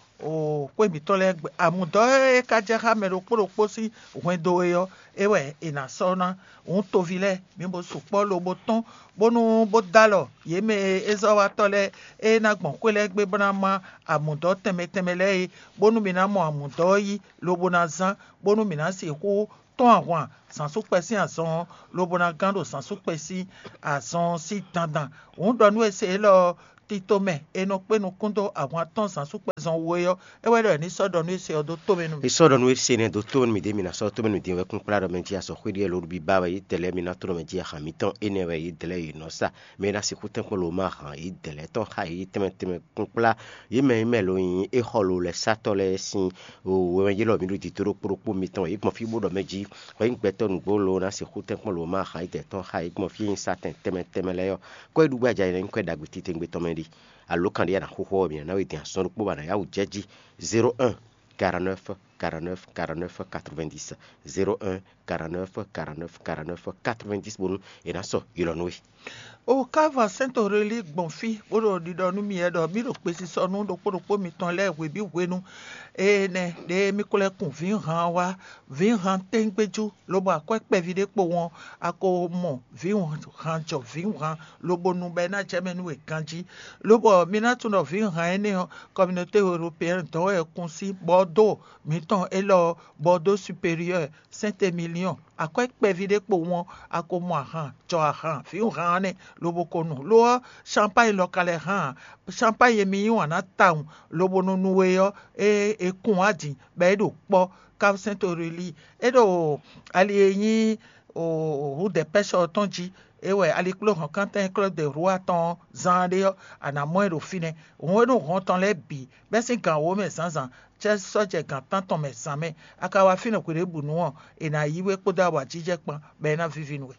xwé mǐtɔn lɛ́ɛ gbe. Amǔdɔ́ e ka jɛ xá mɛ ɖokpó ɖokpó sín hwendo é ɔ́, é wɛ è nǎ sɔ́ ná. Hǔn toví lɛ́ɛ, mi bo sukpɔ́ lobo tɔ́n, bónú bó dó alɔ yě mɛ e é zɔ́ wá tɔ́ lɛ́ɛ e ná gbɔn xwé lɛ́ɛ gbe bó ná má amǔdɔ́ tɛnmɛ tɛnmɛ lɛ́ɛ é, bónú mi ná mɔ amǔdɔ́ ɔ́ yí, lobo ná zán, bónú mǐ ná sixú tɔ́n ahwan zǎnsúkpɛ sín azɔn ɔ́, lobo ná gán ɖo zǎnsúkpɛ sín azɔn ɔ́ sín dandan. Hǔn ɖɔ nú e se élɔ́ ɔ́, tito mɛ e nɔ kpé nukún dó ahwan tɔn zǎnsúkpɛ zɔn wú é ɔ́, é wɛ ɖɔ è ní sɔ́ ɖɔ nú e se ɔ́ dó tomɛ nú mì. È sɔ́ ɖɔ nú e se nɛ́ dó tomɛ nú mì ɖě mi ná sɔ́ tomɛ nú din wɛ kún kplá ɖɔ mɛ jí azɔ̌ xwé ɖíe lóɖú bíbá wɛ yě dɛlɛ́ mi ná tló mɛ jí ahan mǐtɔn énɛ́ wɛ yě dɛlɛ́ yě nɔ sa. Mɛ e ná sixú tɛ́nkpɔ́n lǒ ma ahan yě dɛlɛ́ tɔn xá yě tɛnmɛ tɛnmɛ kún kplá yě mɛ e mɛ lo nyi é xɔ lo lɛ́ sátɔ́ lɛ́ɛ sín wɛmɛ yélɔ́ mi ɖo dǐdó ɖokpó ɖokpó mitɔn yě gbɔn fí bó ɖɔ mɛ jí hwɛ nyí gbɛtɔ́ nǔgbó lo ná sixú tɛ́nkpɔ́n lǒ ma ahan yě dɛlɛ́ tɔn xá yě gbɔn fí e nyi sa tɛn tɛnmɛ tɛnmɛ lɛ́ɛ ɔ́, kɔ́ é ɖu gbájá é ná nyí kɔ́ é ɖagbe titewungbe tɔn mɛ ɖi. Alo kan ɖé a nǎ xóxó ɔ́, mǐ ná ná we din azɔn ɖokpó ba nǎ yá wǔ jɛ jí. Zéro un, quarante-neuf, quarante-neuf, quarante-neuf, quatre-vingt-dix. Zéro un, quarante-neuf, quarante-neuf, quarante-neuf, quatre-vingt-dix bónú è nǎ sɔ ylɔ́ nú we. O ká va sɛ́n to Relíi gbɔn fí, bó ɖo ɖiɖɔ nú mì wɛ ɖɔ mì ɖo gbesisɔ nú ɖokpó ɖokpó mitɔn lɛ́ɛ hwebǐ hwenu énɛ́ ɖě mì ko lɛ́ kun vǐhan wá, vǐhan tɛ́ngbéjú, lobo akwɛ́ kpɛví ɖé kpo wɔn, a ko mɔ vǐhan jɔ vǐhan, lobo nu bɔ é ná jɛ mɛ nú we ganjí. Lobɔ mi ná tunwun ɖɔ vǐhan énɛ́ ɔ́, Communauté Européenne dɔn wɛ è kun sín Bɔdó mǐtɔn élɔ́ ɔ́, Bɔdó Supérieur, Saint-Émilion, akwɛ́ kpɛví ɖé kpo wɔn, a ko mɔ ahan, jɔ ahan, vǐwunhan ɔ́ nɛ́, lobo ko nu. Lo ɔ́, Champagne lɔ ka lɛ́ hán ǎ. Champagne e mi yí wǎn ná tawun, lobo nɔ nu we ɔ́, é è kun wá din, bɔ é ɖo kpɔ́. Cap Saint Aurélie, é ɖo ali e nyí Rue des Pêcheurs ɔ́ tɔn jí. É wɛ alikpléhɔ̌nkántɛn Club de Roi tɔn ɔ́, zaan ɖé ɔ́, a nǎ mɔ ɛ ɖo fínɛ́. Hǔn e ɖo hɔn tɔn lɛ́ɛ bǐ, bɛ́ sín gan wǒ mɛ zǎnzǎn, cɛ́ sɔ́ jɛ gan tántɔn mɛ zǎn mɛ, a ka wá fínɛ́ hweɖěbǔnu ɔ́, è nǎ yí we kpódó awǎjijɛ kpán, bɔ é ná víví nú we.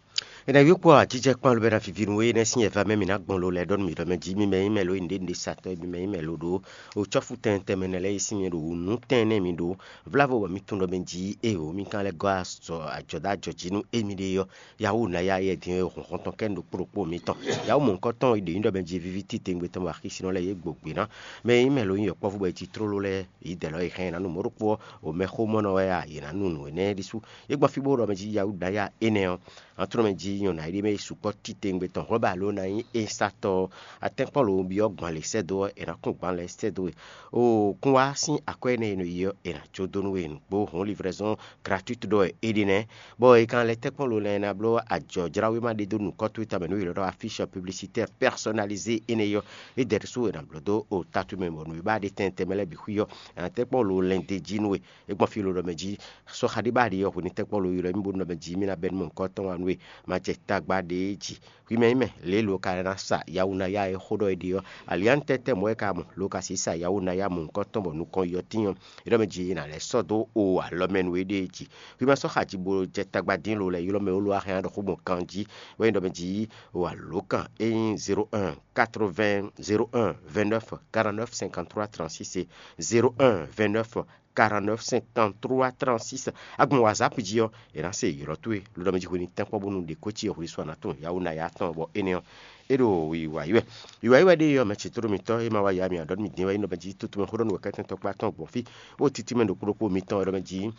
È nǎ yí we kpó awǎjijɛ kpán lobɔ é ná víví nú we, énɛ́ sín ɛva mɛ mǐ ná gbɔn lo lɛ́ɛ ɖɔ nú mǐ ɖɔ mɛ jí mì mɛ nyí mɛ lo nyí nǔɖé nǔɖé satɔ́, mì mɛ nyí mɛ lo ɖó o cɔ́fu tɛntɛn mɛ nɛ́ lɛ́ɛ yi sín mi ɖo wǔ nú tɛn énɛ́ mi ɖó vlávo bɔ mi tunwun ɖɔ mɛ jí éeǒ mi kan lɛ́ gɔ́ azɔ ajɔ̌ dó ajɔ̌ jí nú émí ɖée ɔ́, yahú ná yá yɛ din e hɔn hɔn tɔn kɛ ɖo kpó ɖokpó mitɔn. Yahú mɔ̌hunkɔtɔn e ɖě nyí ɖɔ mɛ jí víví titewungbe tɔn bɔ axísinɔ lɛ́ɛ yě gbo gbě ná. Mɛ e nyí mɛ lo nyí yɔkpɔ́vú bɔ è cí tlóló lɛ́ɛ, yǐdɛ̌ lɔ e hɛn yě ná nu mɔ̌ ɖokpó ɔ́, o mɛxómɔnɔ wɛ a, yě ná nu nǔ énɛ́ ɖésú. É gbɔn fí bó ɖɔ mɛ jí yahú ná yá énɛ́ ɔ́, atlɔ́mɛ jí nyɔ̌ná e ɖ'é mɛ yi sukpɔ́ titewungbe tɔn hlɔ́ba ló ná nyí esatɔ atɛ́nkpɔ́n lo byɔ́ gbǎn lě sɛ́ dó ɔ́, è nǎ kún gbǎn lɛ́ɛ sɛ́ dó we. O kún wá sín akwɛ́ énɛ́ e nɔ yi ɔ́, è nǎ jó dó nú we nǔgbó hɔn livraison gratuite ɖɔ é ɖe nɛ́. Bɔ è kan lɛ́ tɛ́nkpɔ́n lo lɛ́ɛ ná bló ajɔ̌jláwéma ɖé dó nǔkɔ́ towe tamɛ nú yě ɖɔ ɖɔ affiche publicitaire personnalisée énɛ́ ɔ́, é dɛ ɖésú è nǎ bló dó o tatu mɛ bɔ nǔ e ba ɖe tɛntɛn mɛ lɛ́ɛ bǐ xwí ɔ́, è nǎ tɛ́nkpɔ́n lo lɛn d'é jí nú we. É gbɔn fí ló ɖɔ mɛ jí sɔ́ xa ɖé ba ɖi ɔ́ hwenu tɛ́nkpɔ́n lo ylɔ́ mì bónú ɖɔ mɛ jí mì ná bɛ́ nú mɔ̌hunkɔtɔn wá nú we, ma jɛ tagba ɖě jí. Hwi mɛ nyí mɛ lě lo ka ná sa yawunaya e xó ɖɔ é ɖe ɔ́, alianutɛ́tɛ́ mɔ̌ wɛ ka mɔ lo ka sixú sa yawunaya mɔ̌hunkɔtɔn bɔ nukɔn yi ɔ́ tíin ɔ́, é ɖɔ mɛ jí è nǎ lɛ́ sɔ́ dó o alɔ mɛ nú éɖée jí. Hwi ma sɔ́ xa jí bó jɛ tagba dín lo lɛ́ ylɔ́ mɛ ó lo wá hɛn ɖɔ xó gbɔn ganjí, wɛ nyí ɖɔ mɛ jí o alǒkan é nyí zéro un quatre-vingts zéro un vingt-neuf quarante-neuf cinquante-trois trente-six é, zéro un vingt-neuf quarante-neuf cinquante-trois trente-six. Agbɔn WhatsApp jí ɔ́, è nǎ se ylɔ́ towe lodɔ mɛ jí hwenu tɛ́nkpɔ́n bónú ɖě ko cí ɔ́ hwesú a nǎ tunwun yawunaya tɔn bɔ énɛ́ ɔ́, é ɖo wiwa yi wɛ. Wiwa yi wɛ ɖé ɔ́, mɛ ce tló mitɔn e ma wá ya mi aɖɔ mi dín wɛ é nɔ mɛ jí tutu mɛ xó ɖɔ nú wɛ kɛ́tɛ́ntɔ́ kpá tɔn gbɔn fí, bó títí mɛ ɖokpó ɖokpó mitɔn e ɖɔ mɛ jí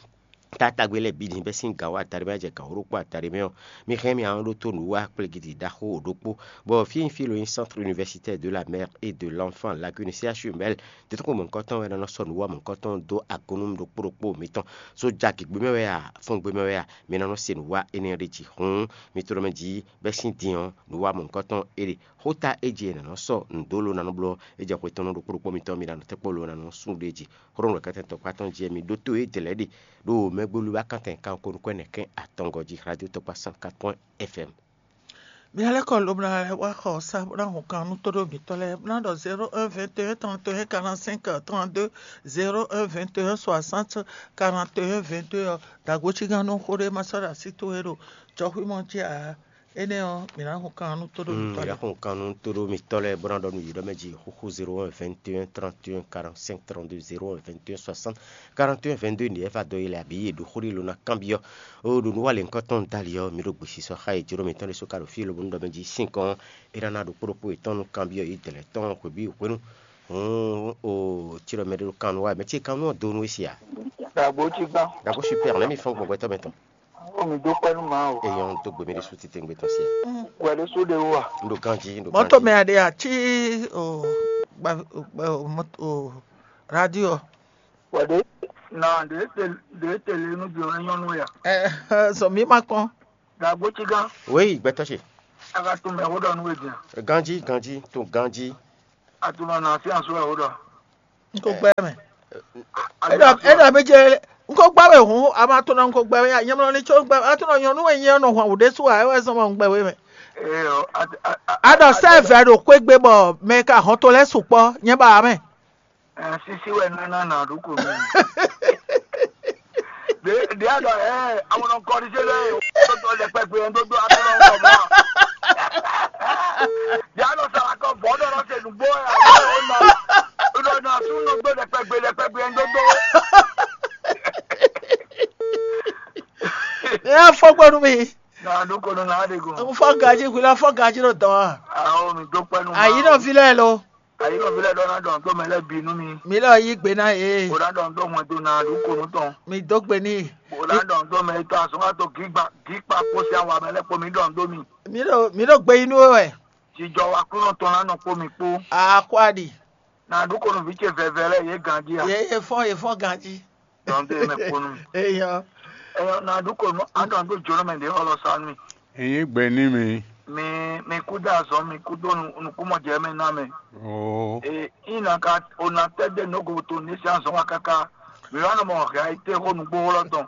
tatagbe lɛ́ɛ bǐ din bɛ́ sín gǎn wá adaɖé mɛ jɛ gǎn wó ɖokpó adaɖé mɛ ɔ́, mi hɛn mì ahɔn ɖó tó nǔ wá kplégidi ɖaxó ɖokpó, bɔ fí e nyí fí e lo nyí Centre Universitaire de la Mère et de l'Enfant Lagune, C H U M L, tɛ́ntin xo mɔ̌hunkɔtɔn wɛ ná nɔ sɔ́ nǔ wa mɔ̌hunkɔtɔn dó agun nú ɖokpó ɖokpó mitɔn. Sója gěgbe mɛ wɛ a, fɔ́ngbé mɛ wɛ a, mi ná nɔ se nǔ wa énɛ́ ɖé jí. Hǔn mi tló mɛ jí bɛ́ sín din ɔ́, nǔ wa mɔ̌hunkɔtɔn é ɖe. Xóta é jí è nǎ nɔ sɔ́ nǔ dó lo ná nɔ bló, é jɛ xwe tɔn nú ɖokpó ɖokpó mitɔn, mi ná nɔ tɛ́nkpɔ́n lo ná nɔ sú ɖé jí. Xó ɖɔ nǔ kɛ́tɛ́ tɔkpá tɔn jí mi ɖótó é dlɛ̌ ɖe ɖo mɛgbólu wá kántɛn kanko nukɔn ɛnɛ kɛn atɔngɔ́ jí Radio Tɔkpá cent quatre point F M. Mia lɛ́ kɔ lobo ná wá xɔ sá bó ná hun kan nú tóɖó mǐtɔn lɛ́ɛ bó ná ɖɔ zéro un vingt et un trente et un quarante-cinq trente-deux, zéro un vingt et un soixante quarante et un vingt-deux ɔ́, dǎgojígán nú xó ɖé ma sɔ́ ɖo así towe ɖo jɔxwímɔ jí ǎ. Énɛ́ ɔ́, mǐ ná hun kan nú tóɖó Mm, mǐtɔn lɛ́ɛ. Yàkùn kanu tóɖó mǐtɔn lɛ́ɛ bó ná ɖɔ nú yě ɖɔ mɛ jí xúxú zéro un vingt et un trente et un quarante-cinq trente-deux zéro un vingt et un soixante quarante et un vingt-deux ní ɛ va dó yi lɛ abǐ yě ɖo xó ɖé lo ná kanbyɔ́. Ó ɖo nǔ wa lě ŋkɔ́ tɔn dali ɔ́, mǐ ɖo gběsisɔ xá yě jǒ ɖo mǐtɔn ɖésú ka ɖo fí lobo nú ɖɔ mɛ jí sín kɔn é ná ná ɖo kpóɖokpó yětɔn nú kanbyɔ́ yě dɛ̌ lɛ́ɛ tɔn hwebǐ hwenu. Hǔn o cí ɖɔ mɛ ɖé ɖo kan nú wa mɛ cí kan nú ɔ́ do nú é sia. Dàgbò cí gbá. Dàgbò super nɛ́ mi fɔ́n gbɔn gbɛtɔ́ mɛ tɔn. Ó mi dó pẹ́ nú màá o. Èèyàn tó gbèmí ɖé sú títí gbé tɔn sia. Wẹ̀lú sú ɖe wú à. N ɖo ganjí, n ɖo Mɔto ganjí. Me aɖe atsi o gba o gba o mɔto o radio. Wẹ̀lú na ɖe te ɖe te le nu jɔ nyɔnu ya. Ɛ sɔ mi ma kɔn. Dàgbò cí gán. Oui, gbɛtɔ́ ce. Aga tó mɛ wó ɖɔ nú wé diẹ. Ganjí, ganjí, tó ganjí. Atunɔ na fi asu wɛ wó ɖɔ. N ko gbɛ mɛ. Eɖɔ eɖɔ mi dze n ko gbɛ wɛ hun ama to na n ko gbɛ wɛ nyɛmlɔ ni tso gbɛ atunɔ nyɔnu wɛ nyɛ nɔ hwan wò ɖe su a ewɛ sɔn ma n gbɛ wɛ mɛ. Eyɔ. Aɖɔ sɛ vɛ ɖo kpé gbé bɔ mɛ ka hɔn to lɛ sukpɔ nyɛ ba mɛ. Sisi wɛ nana na ɖu ko mi. Ɖe aɖɔ ɛ awɔnɔ kɔɖize lɛ o tɔtɔ lɛ kpɛkpɛ yɛn dodo aɖɔ lɔ wɔ mɔ. Ɖe aɖɔ sara kɔ vɔ ɖɔ lɔ se nugbo ɛ awɔ o nɔ. Ɖɔ na su nugbo lɛ kpɛkpɛ lɛ kpɛkpɛ yɛn dodo. Ɛ fɔgbɔnu mi. Na ɖu ko nɔ na de go. N fɔ gaji hwi la fɔ gaji ɖo dɔn a. Awo mi do kpɛnu. Ayi nɔ vi lɛ lo. Ayi nɔ vi lɛ ɖɔ na dɔn to mɛ lɛ bi nu mi. Mi lɔ yi gbe na ye. O na dɔn to mɔ to na ɖu ko nu tɔn. Mi do gbe ni. O na dɔn to mɛ to asɔn ka to gigba gikpa kpo si awa mɛ lɛ kpo mi dɔn do mi. Mi ɖo mi ɖo gbe yi nú we wɛ. Jijɔ wa kúnɔ tɔn na nɔ kpo mi kpo. Akwadi. Na ɖu ko nu vi ce vɛvɛ lɛ ye ganji a. Ye ye fɔn ye fɔn ganji. Dɔn de mɛ kponu. Eyɔ. Eyɔ na ɖu ko nu aɖɔn do jɔnɔ mɛ de xɔlɔ sa nu. Eyi gbe ní mi. Mi mi kú dé azɔn mi kú dó nukúmɔjɛ mɛ ná mɛ. Oo. E ina ka ona tɛ de nogo to ní sí azɔn wa kaka. Mi wa nɔ mɔ hɛ ayi te xo nugbo xlɔ tɔn.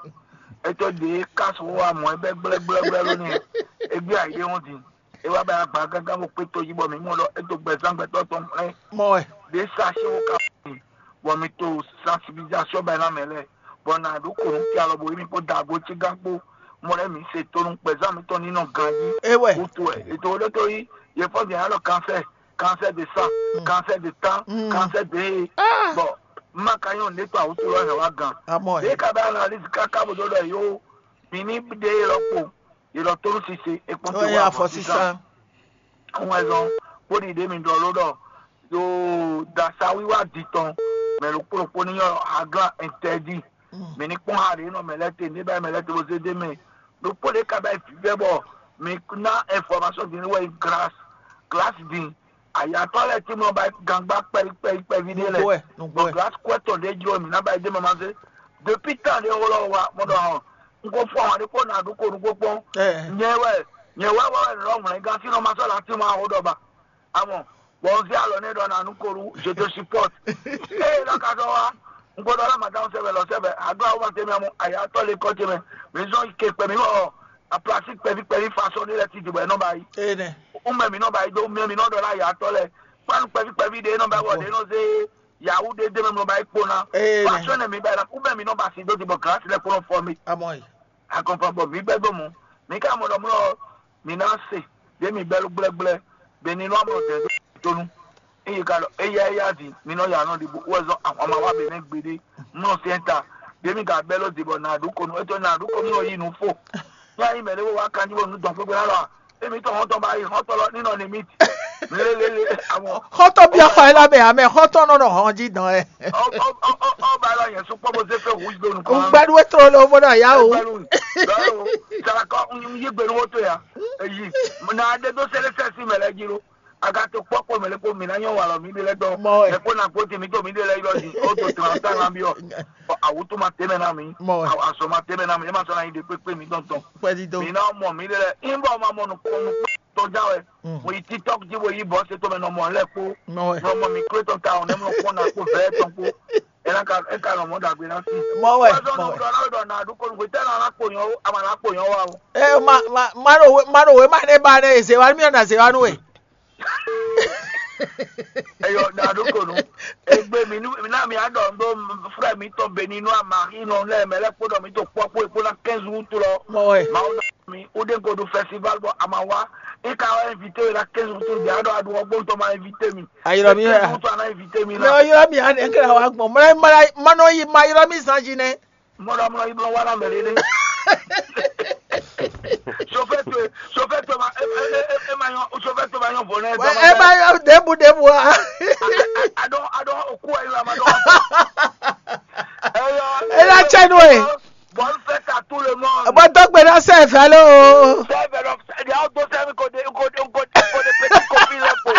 Eto de kasu wa mɔ ɛbɛ gblɛgblɛgblɛ lónìí. Egbe ayi de ŋu di. E wá bɛ agba gángan bó kpé tó yí bɔ mǐ mɔ ɖɔ é dó gbɛzán gbɛtɔ́ tɔn mlɛ́. Mɔ wɛ. Ɖě sa xó ka mì, bɔ mǐ to sensibilisation bɛ ná mɛ lɛ́ɛ, bɔ nǎ ɖó kǒnúkɛ alɔ bo yí mì kpó Daago Cígán kpó. Mɔ lɛ́ɛ mǐ se tónú gbɛzán mǐtɔn ní nɔ ganjí. É wɛ. Wútu wɛ. Ètò olótó yí, yě fɔ́n dě alɔ cancer, cancer de sang, Mm. cancer de temps, Mm. cancer de. Ah. Bɔ má ka nyɔ́ ní tó àwùjọ lɔ hɛn wá gan. Amɔ Ɖě ɛ. Ka bɛ analyse káká bó dó ɖɔ yó, mǐ ní ɖe é lɔ kpo, yě lɔ tónú sise, é kpɔ́n tó Ɔyɛ wá afɔ sísá. Sísá. Wɛn zɔn kpóɖi ɖě mi ɖɔ ló ɖɔ ɖo dasa wiwa di tɔn mɛ ɖokpó ɖokpó ní nyɔ aglan interdit. Mɛ ní kpɔn ha ɖě nɔ mɛ lɛ́ te ní bá mɛ lɛ́ te bó zé dé mɛ ɖokpó ɖě ka bá vívɛ bɔ mi ná information din ní wɛ glace glace din ayatɔ lɛ tí mo ba gangba kpɛví kpɛví kpɛví ɖé lɛ Nugbo ɛ, nugbo bɔ ɛ. Glace kwɛtɔ ɖé jlo mi ná ba dé mɛ ma zé depuis temps ɖé wolo wa mo ɖɔ hɔn n ko fɔ hɔn ɖé kpó na ɖu ko nugbo kpɔn Ɛ. Nyɛ wɛ nyɛ wɛ wɛ wɛ lɔ mlɛ gán sínú ma sɔ la tí mo awo ɖɔ ba. Amɔ, bɔ un zé alɔ nɛ ɖɔ na nú Kolu, je te supporte. Eye lɔ ka sɔ wa, un ko ɖɔ la madame sɛbɛ lɔ sɛbɛ, ado awo ma tɛ mi amɔ, aya tɔ le kɔ tɛ mɛ, mi zɔn ke kpɛ mi wɔ, a plastique kpɛvi kpɛvi façon ni lɛ ti di bɔ e nɔ ba yi. Ene. Un mɛ mi nɔ ba yi do, mɛ mi nɔ ɖɔ la aya tɔ lɛ, kpanu kpɛvi kpɛvi de nɔ ba wɔ de nɔ zé, yawu de de mɛ mi nɔ ba yi kpo na. Ene. Façon ne mi ba yi la, un mɛ mi nɔ ba si do di bɔ glace lɛ kpo nɔ fɔ mi. Amɔ yi. Akɔnfan bɔ mi gbɛ do mu, mi ka mɔ ɖɔ mlɔ, mi ná se, ɖe mi bɛlu gblɛgblɛ, be ni nɔ amɔ dɛn do tonu. Eye ka ɖɔ eya eya di mi nɔ ya nɔ ɖi bu wɛ zɔn ahɔnma wa be nɛ gbeɖe mlɔ sɛn ta ɖe mi ka bɛlɔ di bɔ na ɖu konu etɔ na ɖu konu nɔ yi nu fo. Ya yi mɛ ɖe wo wa kanji bɔ nu dɔn kpekpe na lɔ emi tɔ hɔn tɔ ba yi hɔn tɔ lɔ ni nɔ ni mi ti lelele amɔ. Xɔtɔ bia xɔ ela mɛ amɛ xɔtɔ nɔ nɔ hɔn ji dɔn ɛ. Ɔ ɔ ɔ ɔ ba lɔ yẹn sukpɔ bo se fɛ wu do nu kɔn. Ŋgbɛɖu etro le wo bɔ na ya o. Sarakɔ yi gbenu wo to ya eyi na de do sele sɛsi mɛ lɛ ji lo. Agato kpɔkpɔ mɛ lɛ kpo mi na nyɔ walɔ mi de lɛ dɔ. Mɔ wɛ. Lɛ kpo na kpo ti mi to mi de lɛ yɔ di o to tran ta na bi ɔ. Awutu ma tɛmɛ na mi. Mɔ wɛ. Azɔ ma tɛmɛ na mi e ma sɔ na yi de kpekpe mi tɔn tɔn. Kpɛdi do. Mi na mɔ mi de lɛ in bɔ ma mɔ nu kpɔn nu kpɔn tɔn ja wɛ. Mo yi tiktok ji bo yi bɔ se to mɛ nɔ mɔ lɛ kpo. Mɔ wɛ. Nɔ mɔ mi kple tɔn ta o ne mo kpɔn na kpo vɛ tɔn kpo. E na ka e ka nɔ mɔ dagbe na si. Mɔ wɛ. Wa zɔn Mɔ nu wɛ. Dɔ na dɔ na du ko nu ko tɛ na na kpo yɔn o ama na kpo yɔn wa o. Ɛ ma ma ma ɖo we ma ɖo we ma ne ba ne eze wa mi na ze wa nu we. Eyɔ na ɖo ko nu. Egbe mi nu na mi adɔ ndo frɛ mi tɔn beni nu amari nɔ lɛ mɛ lɛ kpɔdɔ mi to kpɔ kpo ekpo na quinze août lɔ. Mɔ wɛ. Mawu na mi, ou ɖe ko ɖo festival bɔ a ma wá. E ka wá invité we la quinze jours to ɖe aɖɔ aɖu ɔgbɔn tɔ ma invité mi. Ayɔrɔ mi wɛ. Quinze jours to ana invité mi mɛ la. Ɔyɔrɔ mi aɖe kla wa gbɔn mlɛ mlɛ manɔ yi ma yɔrɔ mi zan zi nɛ. Mɔɖɔ mlɔ yi blɔ wa na mɛ ɖe. Chauffeur to, chauffeur to ma e e e e ma yɔ chauffeur to ma yɔ bɔ nɛ. Ɛ ma yɔ debu debu a. Adɔ adɔ oku ayi la ma dɔ. Ela tsɛ nu e. Bonne fête à tout le monde. Bɔ dɔgbe na sɛ fɛ lo. Sɛ fɛ lo. Ɛdi awo do sɛ mi ko de ko de ko de ko de petit copine lɛ ko.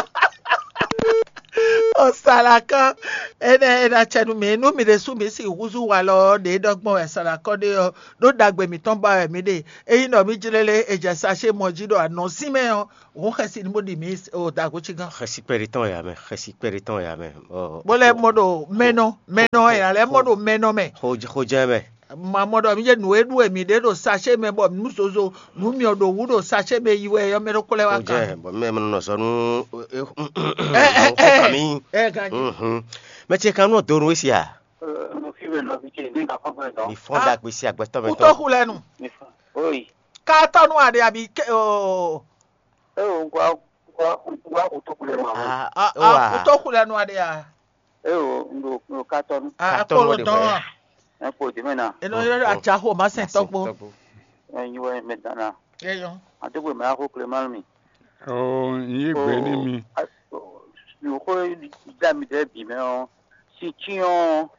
Ɔsalaka. Enɛ ena tsɛ nu mi nu mi ɖe su mi si huzu wa lɔ ɖe dɔgbɔn wɛ salakɔ ɖe ɔ ɖo dagbe mitɔn ba wɛ mi ɖe. Eyi nɔ mi jlele e jɛ sase mɔ ji ɖo anɔ sin mɛ ɔ. Wo xɛsi ni mo ɖi mi o dago ci gan. Xɛsi kpɛɖe tɔn ya mɛ, xɛsi kpɛɖe tɔn ya mɛ. Bo lɛ mɔ ɖo mɛnɔ mɛnɔ ya lɛ mɔ ɖo mɛnɔ mɛ. Xojɛ mɛ. Ma mɔ ɖɔ mi jɛ nǔ e ɖu e mi ɖe ɖo sase mɛ bɔ nu zozo nu mi ɔ ɖo wu ɖo sase mɛ yi wɛ yɔ mɛ ɖo kplɛ wa kan. Xojɛ bɔ mɛ mɛ nɔ zɔ nu. Ɛ ɛ ɛ ɛ ganji. Mɛ ce kan nɔ do nu esi a. Mo fi wɛ nɔvi ce ní kakɔ gbɛ dɔn. Mi fɔn dagbe si agbɛtɔ mɛ tɔn. Kutɔ xulɛ nu. Mi fɔn. Oyi. Ka tɔ nu aɖe abi ke o. Eo, un gwa un gwa un gwa un tó kulɛ ma wɛ. Ah, ah, ah, Wa. Kutɔ xulɛ nu aɖe a. Eo, un ɖo un ɖo katɔnu. Ah, Katɔnu akpolo ɖe dɔn hwɛ. A. Un kpo dime na. Eno yɔ atsa xo ma sɛn tɔgbo. Ɛ nyi wɛ mɛ dana. Eyɔ. Adogbe mɛ axo Clément mi. Oh, n yí gbe ní mi. Mi xo da mi ɖe bi mɛ ɔ. Si tsi ɔ.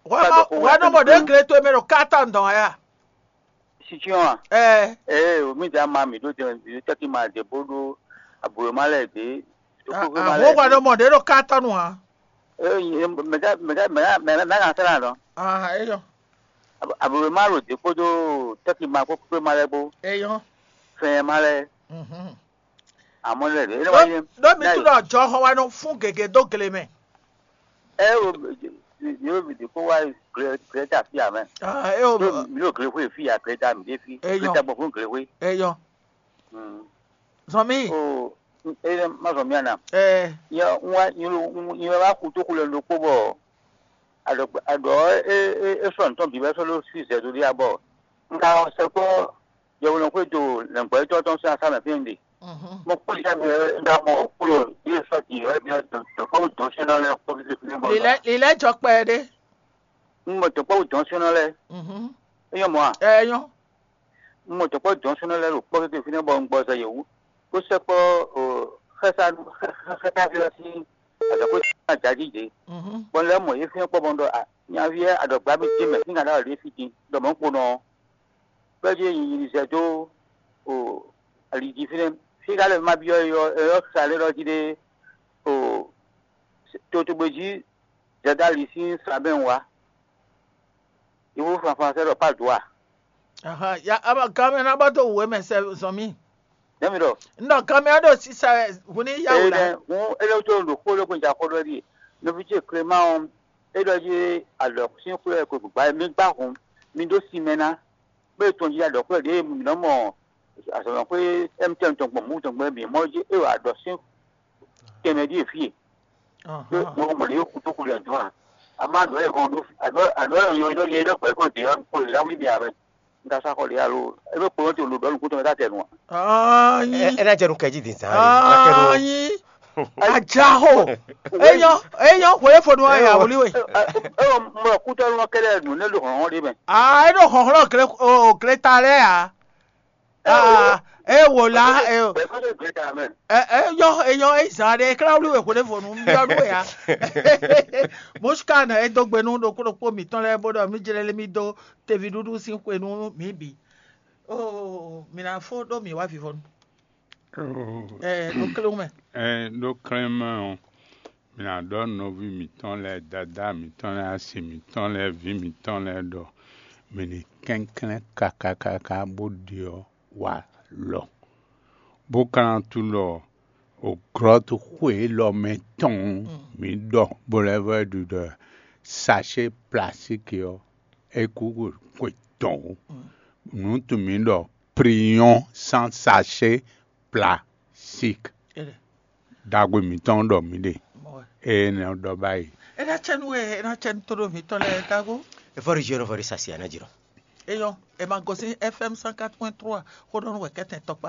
Wa ma wa nɔ mɔ ɖe gle to mɛ ɖo katɔnu dɔn ya. Situation a? Ɛɛ. Ee, mi da ma mi ɖó jɛ mi ɖó tɛ́kí ma ɖě bó ɖó abǔwéma lɛ́ɛ ɖě. Ahóhwa ɖɔ mɔ ɖě ɖo katɔnu ǎ. Ee, mɛ ka mɛ ka mɛ ka mɛ ka ná sɛ́ nɔ. Aha, eyɔ. Abǔwéma ɖo ɖě kpódó tɛ́kí ma kpó kpéma lɛ́ɛ kpó. Eyɔ. Fɛn ma lɛ́ɛ. Mhm. Amɔ̌ lɛ́ɛ ɖě. Ɖó mi tunɔ jɔxɔ wa nɔ fún gěgé dó gle mɛ. Ɛ o, yóò mi ɖě kó wá Greta fí amɛ. Ah, eo. Ɖó mi ɖo Glexwé fí a, Greta mi ɖe fí. Eyɔ. Greta gbɔn fún Glexwé. Eyɔ. Mm. Zɔn mi. O, e ma zɔn mi ana. Ɛ. Nyɛ wá nyɛ wá kú tó kulɛ ɖokpó bɔ aɖɔ aɖɔ e e e sɔ nutɔn bǐ wɛ sɔ ɖó fí zɛ ɖo ɖi abɔ. Un ka sɛ kpɔ yɛhweɖɔxwé dó lɛ̌ngbɔ́yítɔ́ tɔn sín asá mɛ fí un ɖe. Mhm. Mo kpó yá mi ɖá mɔ kúrò yé sɔ́ jǐ wɛ mi dɔ̌nkpɔ́ dɔ̌n sɛ́nɔ lɛ́ɛ kpó fífí fí mɔ. Lilɛ lilɛ jɔ kpɛ ɖé. Un mɔ dɔ̌nkpɔ́ dɔ̌n sɛ́nɔ lɛ́ɛ. Mhm. É nyɔ́ mɔ̌ a? Ɛ nyɔ́. Un mɔ dɔ̌nkpɔ́ dɔ̌n sɛ́nɔ lɛ́ɛ ɖo kpɔ́ kékeré fínɛ́ bɔ un gbɔ zɛ yě wú. Bó sɛkpɔ́ xɛ́sá xɛ́sá fí ɔ́ sín azɔ̌xwé sín ajají ɖě. Mhm. Bɔ un lɛ́ mɔ yě fínɛ́ kpɔ́ bɔ un ɖɔ a nyaví ɛ aɖɔ̌gbá mi dín mɛ sín kan ɖó alǐ fí din ɖɔ mɔ̌ kponɔ ɔ́. Bɛ́ ɖíe nyi nyi zɛ dó o ali jí fínɛ́. Fí ka lɛ́ ma byɔ́ é ɔ́, é ɔ́ sa lɛ́ ɖɔ jí ɖé o totogbe jí zɛdali sín sa mɛ wá. Iwu fanfan sɛ ɖɔ Padoa. Aha, ya ama gamɛ na ba to wǔ mɛ sɛ zɔn mì. Nɛ́ mi ɖɔ? Un ɖɔ gamɛ ɖo sisa wɛ hun ní ya wǔ la. Ene hun ele to ɖo xó ɖokpó ja xó ɖɔ ɖi. Nɔvi ce Clément ɔ́, é ɖɔ jí alɔ sín xwé ko gbǎ mi gbá hun mi ɖó sin mɛ ná. Bó e tɔn jí aɖɔ̌xwɛ ɖě mǐ nɔ mɔ azɔ̌mɛxwé M T N tɔn gbɔn mǔ tɔn gbɛ́ mǐ mɔ jí é wa aɖɔ sín tɛnmɛ ɖíe fí e. Ɖó mo mɔ ɖě kútókú lɛ dɔn a? A má ɖɔ é hɔn ɖó aɖɔ aɖɔ é nyɔ ɖɔ lé ɖɔ pɛ́ kó dě ɔ́ kó lě ná wlí mi ǎ mɛ. Un ka sá xɔ lě alo é ɖó kpo ɔ́ te lo ɖɔ nukún tɔn mɛ ká tɛ nu a? Anyi. É ná jɛ nu kɛjí din zan. Anyi. Ajaho. Eyɔ eyɔ hwe fo nu aya wuli we. Ɛ ɛ mɔ kútɔnu ɔ́ kɛlɛ nǔ nɛ ɖo hlɔ̌nhlɔ́n ɖé mɛ. Aa é ɖo hlɔ̌nhlɔ́n gle o gle ta lɛ́ɛ ǎ. Aa é wò lá é o. Bɛ̌ kó lè gbé ta mɛ. Ɛ ɛ yɔ eyɔ é zan ɖe é klá wuli we hwe fo nu yɔ nu ya. Mosika nɔ é dó gbe nú ɖokpó ɖokpó mǐtɔn lɛ́ɛ bó ɖɔ mí jlɛ́ lé mí dó teví ɖuɖu sín xwe nú mǐ bǐ. Oo mǐ ná fó ɖó mǐ wá vivɔnu. Ɛɛ ɖo klé mɛ. Ɛɛ ɖo klé mɛ ɔ́, mǐ ná ɖɔ nɔví mǐtɔn lɛ́ɛ, dadá mǐtɔn lɛ́ɛ, asi mǐtɔn lɛ́ɛ, vǐ mǐtɔn lɛ́ɛ ɖɔ mǐ ní kɛnklɛ́n káká káká bó ɖe ɔ́ wá lɔ, bó ka ná tunwun ɖɔ o glɔ́ xwe élɔ́ mɛ tɔn mǐ ɖɔ bó lɛ́ vɔ ɖu ɖɔ sachet plastique ɔ́, é kú xwe tɔn o. Nǔ tun mǐ ɖɔ priyon sans sachet plastique. Ɖagbe mǐtɔn ɖɔ mǐ ɖe. Ée nɔ ɖɔ báyìí. É ná cɛ́ nú we, é ná cɛ́ nú tóɖó mǐtɔn lɛ́ɛ tágo. Efɔ́ ɖi jɔ́nɔ fɔ ɖi sasi a ná jlɔ́. É nyɔ́, è ma gosín F M cent quatre point trois xó ɖɔ nú wɛ kɛ́tɛn tɔkpá.